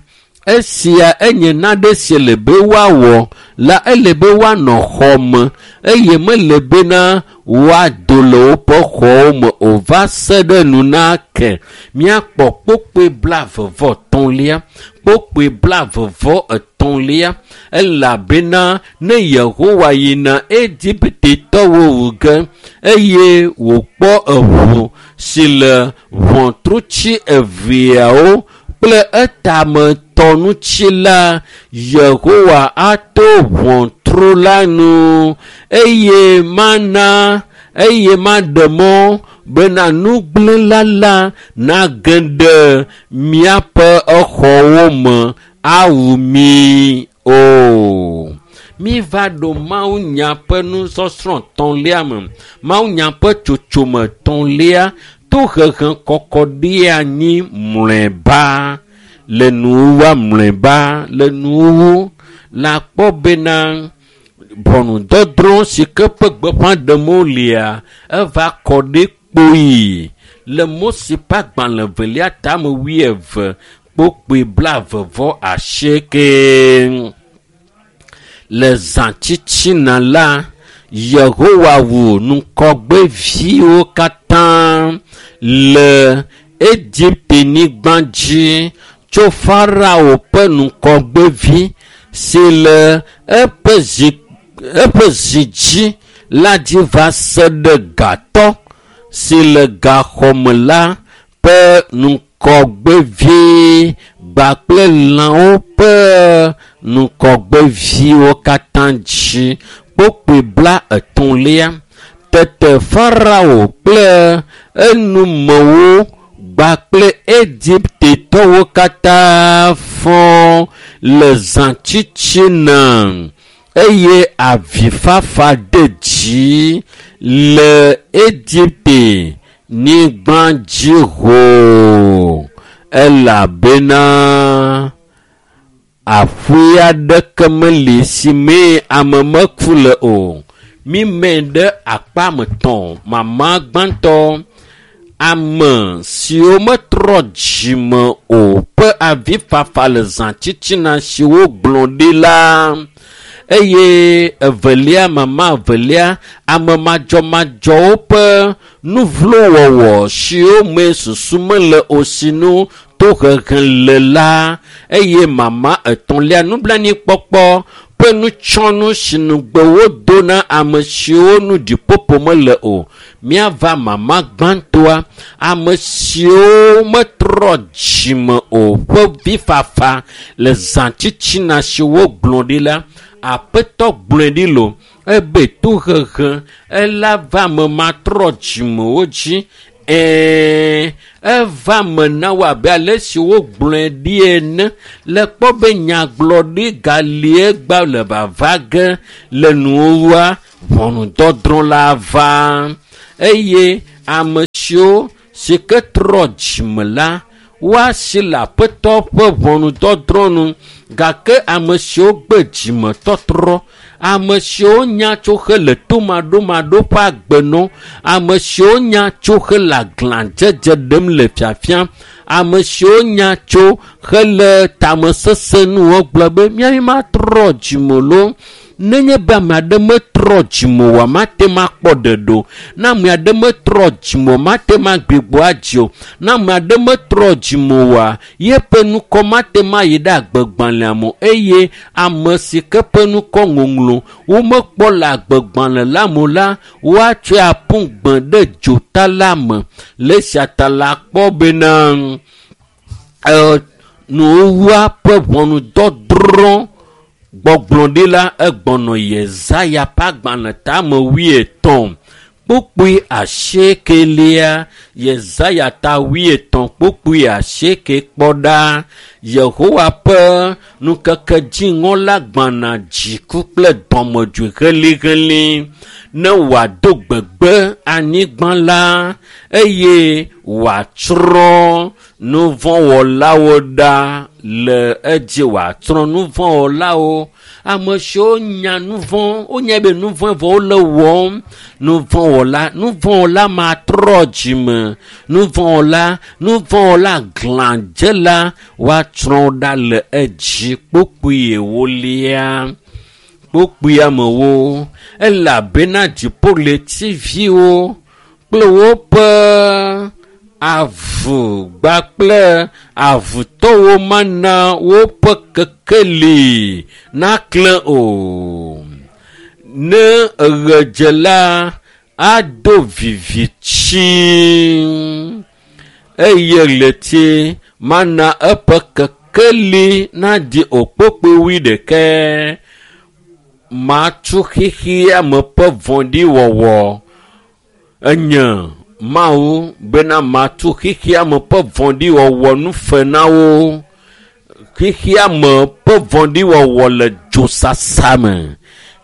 esia enye nane si le be woawɔ la, ele be woanɔ xɔ me eye mele bena woado le woƒe xɔwo me o va se ɖe nu na ke. Míakpɔ kpokpoe 33, kpokpoe 33 elabena ne Yehowa yina Egiptetɔwo wu ge eye wòkpɔ eʋu si le ʋɔtrutsi eveawo kple etametɔ ŋuti la, Yehowa ato ʋɔtru la nu eye mana eye maɖe mɔ bena nugblẽla la nage ɖe miaƒe exɔwo me awu mi o. Míva ɖo Mawunya ƒe nusɔsrɔ̃ tɔ̃lia me. Mawunya ƒe tsotsome tɔ̃lia tohehe kɔkɔ ɖi anyi mlɔeba le nuwuwua mlɔeba le nuwuwu la kpɔ bena ʋɔnudɔdrɔ̃ si ke ƒe gbeƒã ɖem wolia eva kɔ ɖi kpoyi le Mose ƒe agbalẽ evelia tame 20 kpokpoe 28. Le zã tsitsina la, Yehowa wu ŋkɔgbeviwo katã le Egipte-nyigba dzi tso Farao ƒe ŋkɔgbevi si le eƒe zi dzi la dzi va se ɖe gatɔ si le gaxɔme la ƒe ŋkɔgbevi kpakple lãwo ƒe ŋkɔgbeviwo katã dzi. Kpokpoe 33. Tete Farao kple enumewo kpakple Egiptetɔwo katã fɔ le zã tsitsina eye avifafa de dzi le Egipte nyigba dzi hoo elabena aƒe aɖeke meli si mee ame meku le o. Mímee ɖe akpa me tɔ̃ mama gbãtɔ ame siwo metrɔ dzime o ƒe avifafa le zã tsitsina si wogblɔ ɖi la eye evelia mama evelia ame madzɔmadzɔwo ƒe nuvlowɔwɔ siwo me susu mele o sinu to tohehe le la eye mama etɔ̃lia nublanuikpɔkpɔ ƒe nutsɔnu si nugbe wodo na ame siwo nu ɖiƒoƒo mele o. Míava mama gbãtɔa, ame siwo metrɔ dzime o ƒe vifafa le zãtitina si wogblɔ ɖi la, Aƒetɔ gblɔe ɖi lo ebe tohehe ela va ame matrɔ dzimewo dzi. Ɛɛ, eva me na wo abe ale si wogblɔe ɖi ene. Le kpɔ be nyagblɔɖi galie gba le vava ge le nuwua ʋɔnudɔdrɔ̃ la va eye ame siwo si ke trɔ dzime la woasi le Aƒetɔ ƒe ʋɔnudɔdrɔ̃ nu gake ame siwo gbe dzimetɔtrɔ, ame siwo nya tso hele tomaɖomaɖo ƒe agbe nɔ, ame siwo nya tso hele aglãdzedze ɖem le fiafia, ame siwo nya tso hele tamesesẽ nuwo gblɔ be míawo matrɔ dzime loo. Nenye be ame aɖe metrɔ dzime oa, mate ŋu akpɔ ɖeɖe o. Ne ame aɖe metrɔ dzime o, mate ŋu agbigbɔ adzi o. Ne ame aɖe metrɔ dzime oa, yeƒe nukɔ mate ŋu ayi ɖe agbegbalẽa me o eye ame si ke ƒe nukɔ ŋɔŋlɔ womekpɔ le agbegbalẽ la me o la, woatsɔe aƒu gbe ɖe dzota la me. Le esia ta la kpɔ bena nuwua ƒe ʋɔnudɔdrɔ̃ gbɔgblɔ ɖi la egbɔnɔ Yesaya ƒe agbalẽ tame wuietɔ̃ kpukpui asiekelia. Yesaya ta wuietɔ̃ kpukpui asieke kpɔ ɖa. Yehowa ƒe ŋkeke dziŋɔ la gbana dziku kple dɔmedzoe helĩhelĩ ne wòado gbegbe anyigba la eye wòatsrɔ̃ nuvɔ̃wɔlawo ɖa le edzi wòatsrɔ̃ nuvɔ̃wɔlawo. Ame siwo nya nuvɔ̃, wonya be nuvɔ̃ vɔ wole wɔm. Nuvɔ̃wɔla, nuvɔ̃wɔla matrɔ dzime. Nuvɔ̃wɔla, nuvɔ̃wɔla glãdzela woatsrɔ̃ ɖa le edzi kpukpui ewolia. Kpukpui amewo elabena dziƒoɣletiviwo kple woƒe avu kpakple avutɔwo mana woƒe kekeli naklẽ o. Ne ɣe dze la, ado viviti eye ɣleti mana eƒe kekeli naɖi o kpukpui wuiɖekɛ. Matu xexea me ƒe vɔ̃ɖiwɔwɔ enye Mawu bena matu xexea me ƒe vɔ̃ɖiwɔwɔ nu fe na wo. Xexea me ƒe vɔ̃ɖiwɔwɔ le dzosasa me.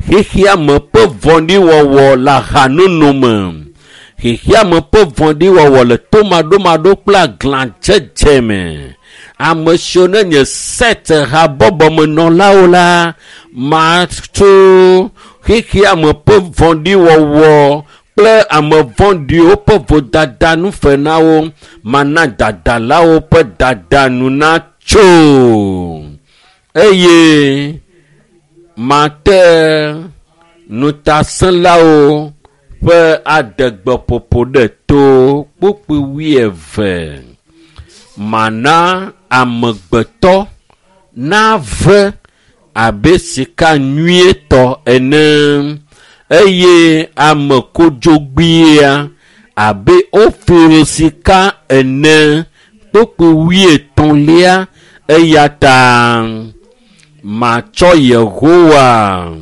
Xexea me ƒe vɔ̃ɖiwɔwɔ le ahanono me. Xexea me ƒe vɔ̃ɖiwɔwɔ le tomaɖomaɖo kple aglãdzedze me. Ame siwo ne nye Set habɔbɔmenɔlawo la, matu xexea me ƒe vɔ̃ɖiwɔwɔ kple ame vɔ̃ɖiwo ƒe vodada nu fe na wo. Mana dadalawo ƒe dada nu natso eye mate ŋutasẽlawo ƒe adegbeƒoƒo ɖe to kpukpui wuieve. Mana amegbetɔ nave abe sika nyuietɔ ene eye ame kodzogbea abe Ofir sika ene kpukpui wuietɔ̃lia. Eya ta matsɔ Yehowa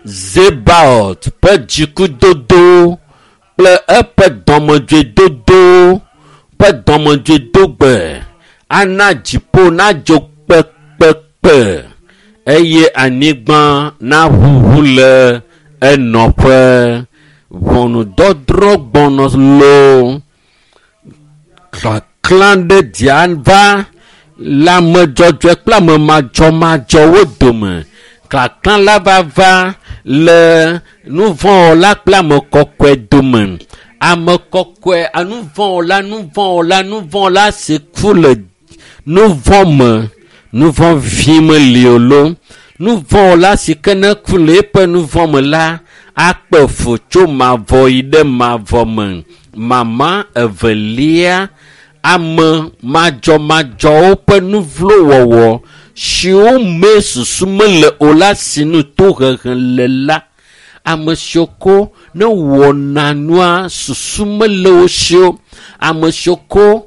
Zebaot ƒe dzikudodo kple eƒe dɔmedzoedodo ƒe dɔmedzoedogbe ana dziƒo nadzo kpekpekpe eye anyigba naʋuʋu le enɔƒe. Ʋɔnudɔdrɔ̃ gbɔnɔ loo. Kaklã ɖe dzia va le ame dzɔdzɔe kple ame madzɔmadzɔwo dome. Kaklã la va va le nuvɔ̃wɔla kple ame kɔkɔe dome. Ame kɔkɔe, nuvɔ̃wɔla, nuvɔ̃wɔla, nuvɔ̃wɔla si ku le nuvɔ̃ me, nuvɔ̃ vi meli o loo. Nuvɔ̃wɔla si ke ne ku le eƒe nuvɔ̃ me la, akpe fu tso mavɔ yi ɖe mavɔ me. Mama evelia, Ame madzɔmadzɔwo ƒe nuvlowɔwɔ siwo me susu mele o la sinu tohehe le la, ame siwo ko ne wɔna nua susu mele wo si o, ame siwo ko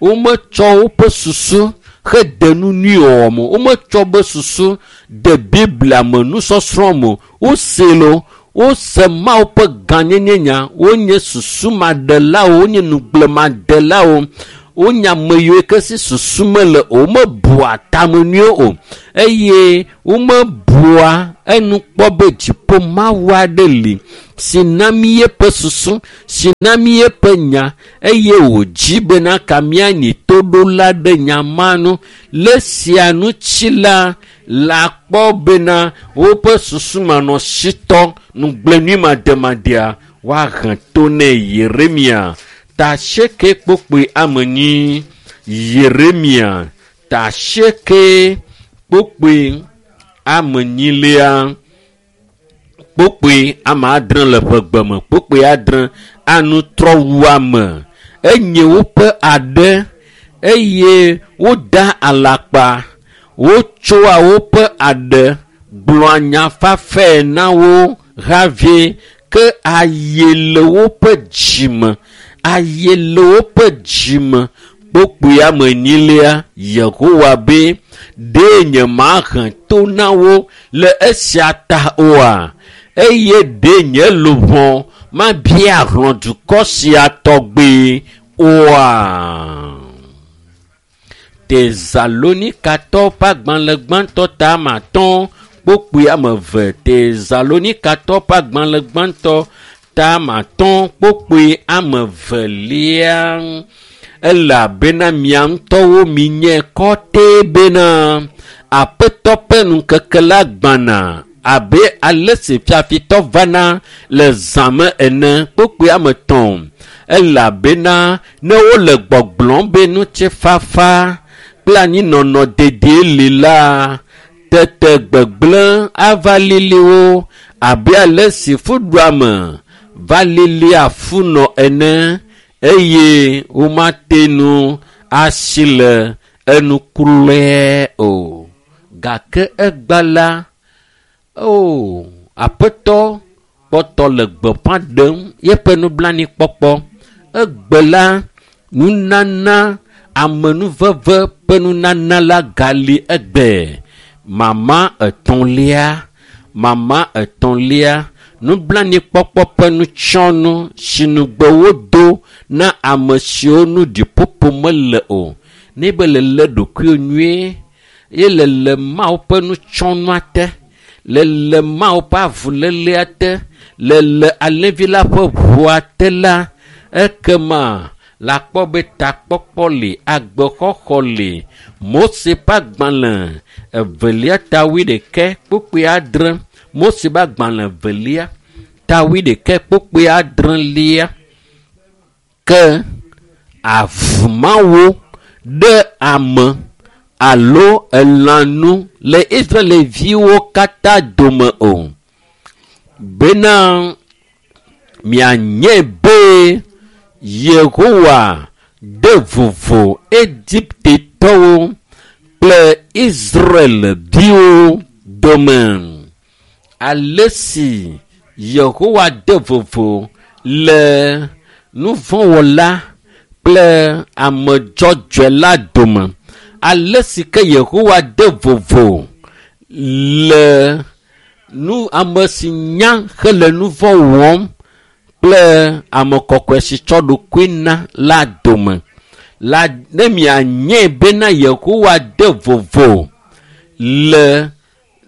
wometsɔ woƒe susu hede nu nyui wɔwɔ me, wometsɔ be susu de Biblia me nusɔsrɔ̃ me, wose lo, wose Mawu ƒe gãnyenye nya, wonye susumaɖelawo, wonye nugblẽmadelawo, wonye ame yiwo ke si susu mele o, womebua tame nyuie o, eye womebua enu kpɔ be dziƒo Mawu aɖe li si na mí eƒe susu, si na mí eƒe nya, eye wòdzi bena ka míanyi toɖola ɖe nya ma nu. Le sia ŋuti la, la kpɔ bena woƒe susumanɔsitɔ nugblẽnuimademadea woahe to nɛ. Yeremia ta 8 kpokpoe ame 4. Yeremia ta 8 kpokpoe ame 4 kpokpoe ame 6 le ƒe gbe me, kpokpoe 6 anutrɔwuame enye woƒe aɖe eye woda alakpa, wotsoa woƒe aɖe gblɔa nya fafɛ na wo havi ke aye le woƒe dzime, aye le woƒe dzime. Kpokpoe ame 4 Yehowa be ɖe nye mahe to na wo le esia ta oa, eye ɖe nye luʋɔ mabia hlɔ̃ dukɔ sia tɔgbe oa. Tesalonikatɔ ƒe agbalẽ gbãtɔ ta ame 5 kpokpoe ame 2. Tesalonikatɔ ƒe agbalẽ gbãtɔ ta ame 5 kpokpoe ame 2. Elabena mia ŋutɔwo minye kɔtɛ bena Aƒetɔ ƒe ŋkeke la gbãna abe ale si fiafitɔ vana le zã me ene. Kpokpoe ame 3. Elabena ne wole gbɔgblɔm be ŋutifafa kple anyinɔnɔ dedie li la, tete gbegblẽ ava lili wo abe ale si fuɖuame va lili afunɔ ene, eye womate ŋu asi le enukulɔe o. Gake egba la, o Aƒetɔ kpɔtɔ le gbeƒã ɖem yeƒe nublanuikpɔkpɔ. Egbe la, nunana amenuveve ƒe nunana la gali egbe. Mama 3, mama 3, nublanuikpɔkpɔ ƒe nutsɔnu si nugbe wodo na ame siwo nu ɖiƒoƒo mele o. Ne be lele ɖokuiwo nyuie ye lele Mawu ƒe nutsɔnua te, lele Mawu ƒe avulelea te, lele alẽvi la ƒe ʋua te la, ekema la kpɔ be takpɔkpɔ li, agbexɔxɔ li. Mose ƒe agbalẽ 2 ta 21 kpokpoe 6. Mose ƒe agbalẽ 2 ta 21 kpokpoe 6. Ke avumawo ɖe ame alo elãnu le Israelviwo katã dome o, bena mianye be Yehowa de vovo Egiptetɔwo kple Israelviwo dome. Ale si Yehowa de vovo le nuvɔ̃wɔla kple ame dzɔdzɔe la dome, ale si ke Yehowa de vovo le nu ame si nya hele nuvɔ̃ wɔm kple ame kɔkɔe si tsɔ ɖokui na la dome la, ne mianye bena Yehowa de vovo le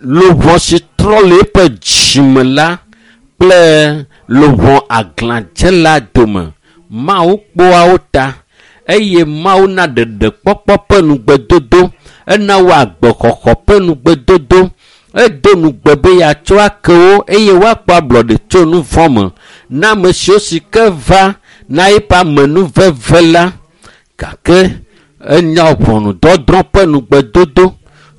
luʋɔ si trɔ le eƒe dzime la kple luʋɔ aglãdzela dome. Mawu kpɔa wo ta eye Mawu na ɖeɖekpɔkpɔ ƒe nugbedodo, ena wo agbexɔxɔ ƒe nugbedodo, edo nugbe be yeatsɔ ake wo eye woakpɔ ablɔɖe tso nu vɔ̃ me na ame siwo si ke va na eƒe amenuveve la. Gake enya ʋɔnudɔdrɔ̃ ƒe nugbedodo,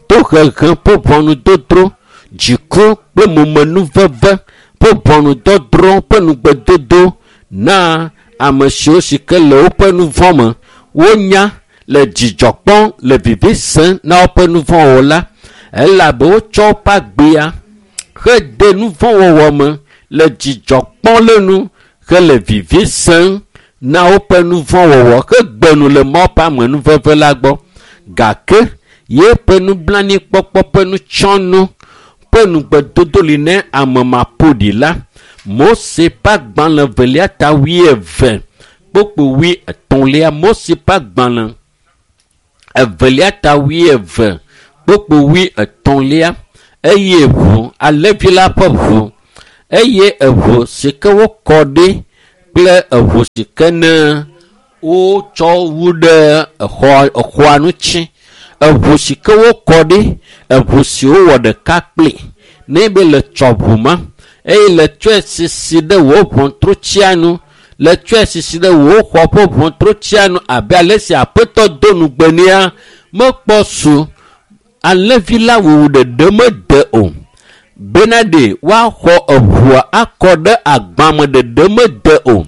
tohehe ƒe ʋɔnudɔdrɔ̃, dziku kple momenuveve ƒe ʋɔnudɔdrɔ̃ ƒe nugbedodo na ame siwo si ke le woƒe nu vɔ̃ me. Wonya le dzidzɔ kpɔm le vivi sem na woƒe nu vɔ̃wo la, elabe wotsɔ woƒe agbea hede nu vɔ̃ wɔwɔ me le dzidzɔ kpɔm le nu hele vivi sem na woƒe nu vɔ̃ wɔwɔ hegbe nu le Mawu ƒe amenuveve la gbɔ. Gake yeƒe nublanuikpɔkpɔ ƒe nutsɔnu ƒe nugbedodo li ne ame maƒoɖi la. Mose ƒe agbalẽ velia ta 20 kpokpo 33. Mose ƒe agbalẽ evelia ta 20 kpokpo 33. Eye ʋu alẽvi la ƒe ʋu eye eʋu si ke wokɔ ɖi kple eʋu si ke ne wotsɔ wu ɖe exɔa ŋuti. Eʋu si ke wokɔ ɖi, eʋu si wowɔ ɖeka kpli. Ne be le tsɔ ʋu ma eye le tsɔe sisi ɖe wò ʋɔtrutsia nu, le tsɔe sisi ɖe wò xɔ ƒe ʋɔtrutsia nu abe ale si aƒetɔ do nugbe nea, mekpɔ su alẽvi la wuwu ɖeɖe mede o. Bena ɖe woaxɔ eʋua akɔ ɖe agbame ɖeɖe mede o.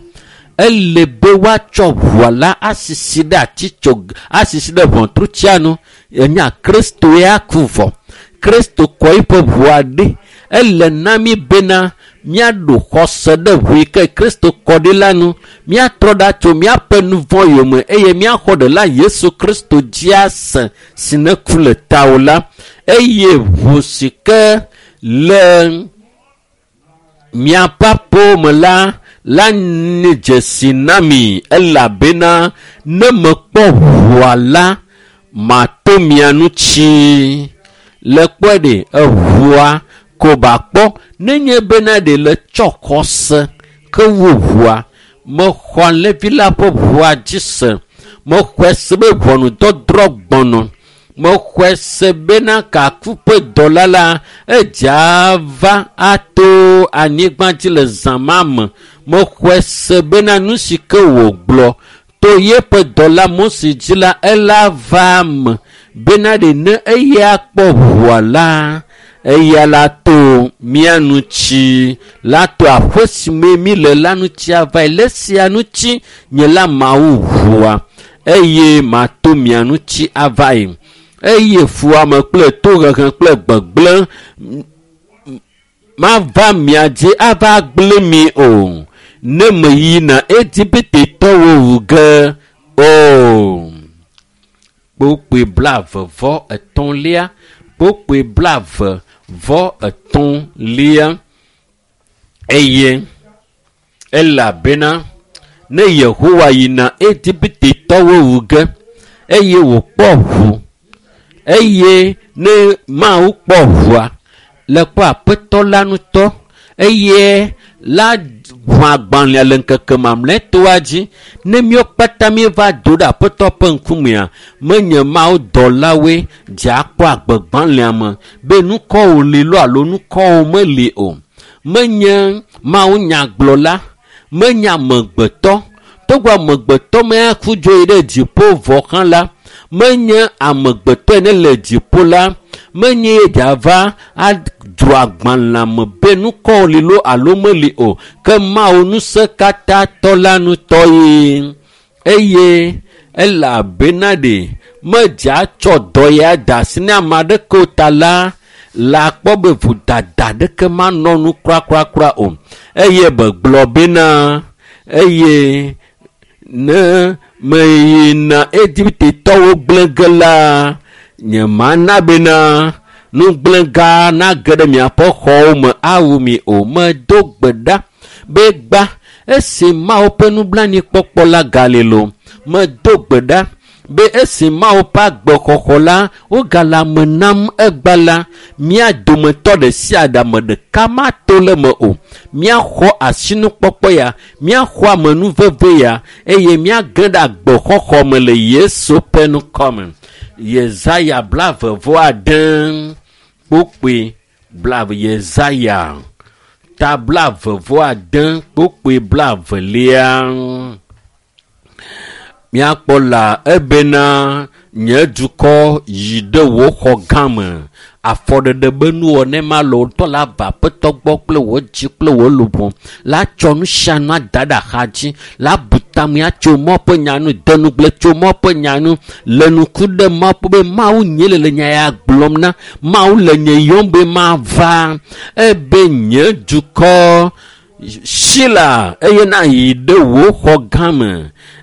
Ele be woatsɔ ʋua la asisi ɖe atitso asisi ɖe ʋɔtrutsia nu. Enya Kristo ya ku vɔ. Kristo kɔ eƒe ʋua ɖi. Ele na mi bena míaɖo xɔse ɖe ʋu yi ke Kristo kɔ ɖi la nu. Míatrɔ ɖa tso míaƒe nu vɔ̃ yome eye míaxɔ ɖela Yesu Kristo dzi ase si ne ku le tawò la. Eye ʋu si ke le miaƒe aƒewo me la la nye dzesi na mi elabena ne mekpɔ ʋua la mato mia ŋuti. Le kpɔe ɖe eʋua ko ba kpɔ nenye bena ɖe le tsɔ xɔse ke wu ʋua. Mexɔ alẽvi la ƒe ʋua dzi se. Mexɔe se be ʋɔnudɔdrɔ̃ gbɔnɔ. Mexɔe se bena kaku ƒe dɔla la edze va ato anyigba dzi le zã ma me. Mexɔe se bena nu si ke wògblɔ to yeƒe dɔla Mose dzi la ela va me bena ɖe ne eya kpɔ ʋua la eya la to mía ŋuti la to aƒe si me mi le la ŋuti ava le sia ŋuti nye la mawu ʋua eye mato mia ŋuti ava yi. Eye fuame kple tohehe kple gbegblẽ mava mia dzi ava gblẽ mi o. Ne meyina Egiptetɔwo wu ge o. Kpokpoe 23. Kpokpoe 23. Eye elabena ne Yehowa yina Egiptetɔwo wu ge eye wòkpɔ ʋu eye ne Mawu kpɔ ʋua le kpɔ aƒetɔ la ŋutɔ eye la ʋu agbalẽa le ŋkeke mamlɛtɔa dzi. Ne míawo kpata míeva do ɖe aƒetɔ ƒe ŋkumea, menye Mawu dɔlawoe dze akpɔ agbegbalẽa me be nukɔwo li loo alo nukɔwo meli o. Menye Mawu nyagblɔla, menye amegbetɔ. Togbɔ amegbetɔ meaku dzo yi ɖe dziƒo vɔ hã la, menye amegbetɔ ene le dziƒo la, menye ye dze ava adzro agbalẽa me be nukɔwo li loo alo meli o. Ke Mawu ŋusẽkatãtɔ la ŋutɔ ye. Eye elabena ɖe medze atsɔ dɔ ya da asi ne ame aɖeke o ta la, la kpɔ be vodada ɖeke manɔ nu krakrakra o. Eye begblɔ bena eye ne meyina Egiptetɔwo gblẽ ge la, nye mana bena nugblẽga nage ɖe miaƒe xɔwo me awu mi o. Medo gbe ɖa be gba esi Mawu ƒe nublanuikpɔkpɔ la gali lo. Medo gbe ɖa be esi Mawu ƒe agbexɔxɔ la wogale ame nam egba la, mía dometɔ ɖe sia ɖe ame ɖeka mato le me o. Míaxɔ asinukpɔkpɔ ya, míaxɔ amenuveve ya eye míage ɖe agbexɔxɔ me le Yesu ƒe ŋkɔ me. Yesaya 26 kpokpoe 20. Yesaya ta 26 kpokpoe 22. Míakpɔ la ebena nye dukɔ yi ɖe wò xɔ gã me. Afɔɖeɖe be nuwɔna ma le wò ŋutɔ la va aƒetɔ gbɔ kple wò dzi kple wò luʋɔ. La tsɔ nu sia nu ada ɖe axa dzi. La bu tamea tso Mawu ƒe nya nu, de nugble tso Mawu ƒe nya nu, le nuku ɖe Mawu ƒe be Mawu nye le le nya ya gblɔm na. Mawu le nye yɔm be mava ebe nye dukɔ si la eye na yi ɖe wò xɔ gã me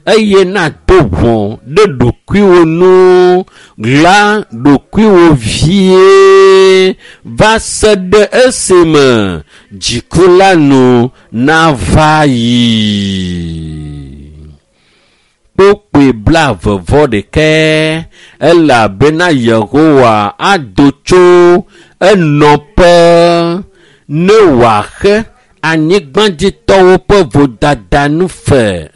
eye na do ʋɔ ɖe ɖokuiwò nu ɣla ɖokuiwò vie va se ɖe esime dziku la nu nava yi. Kpokpoe 26 elabena Yehowa ado tso enɔƒe ne wòaxe anyigbadzitɔwo ƒe vodada nu fe.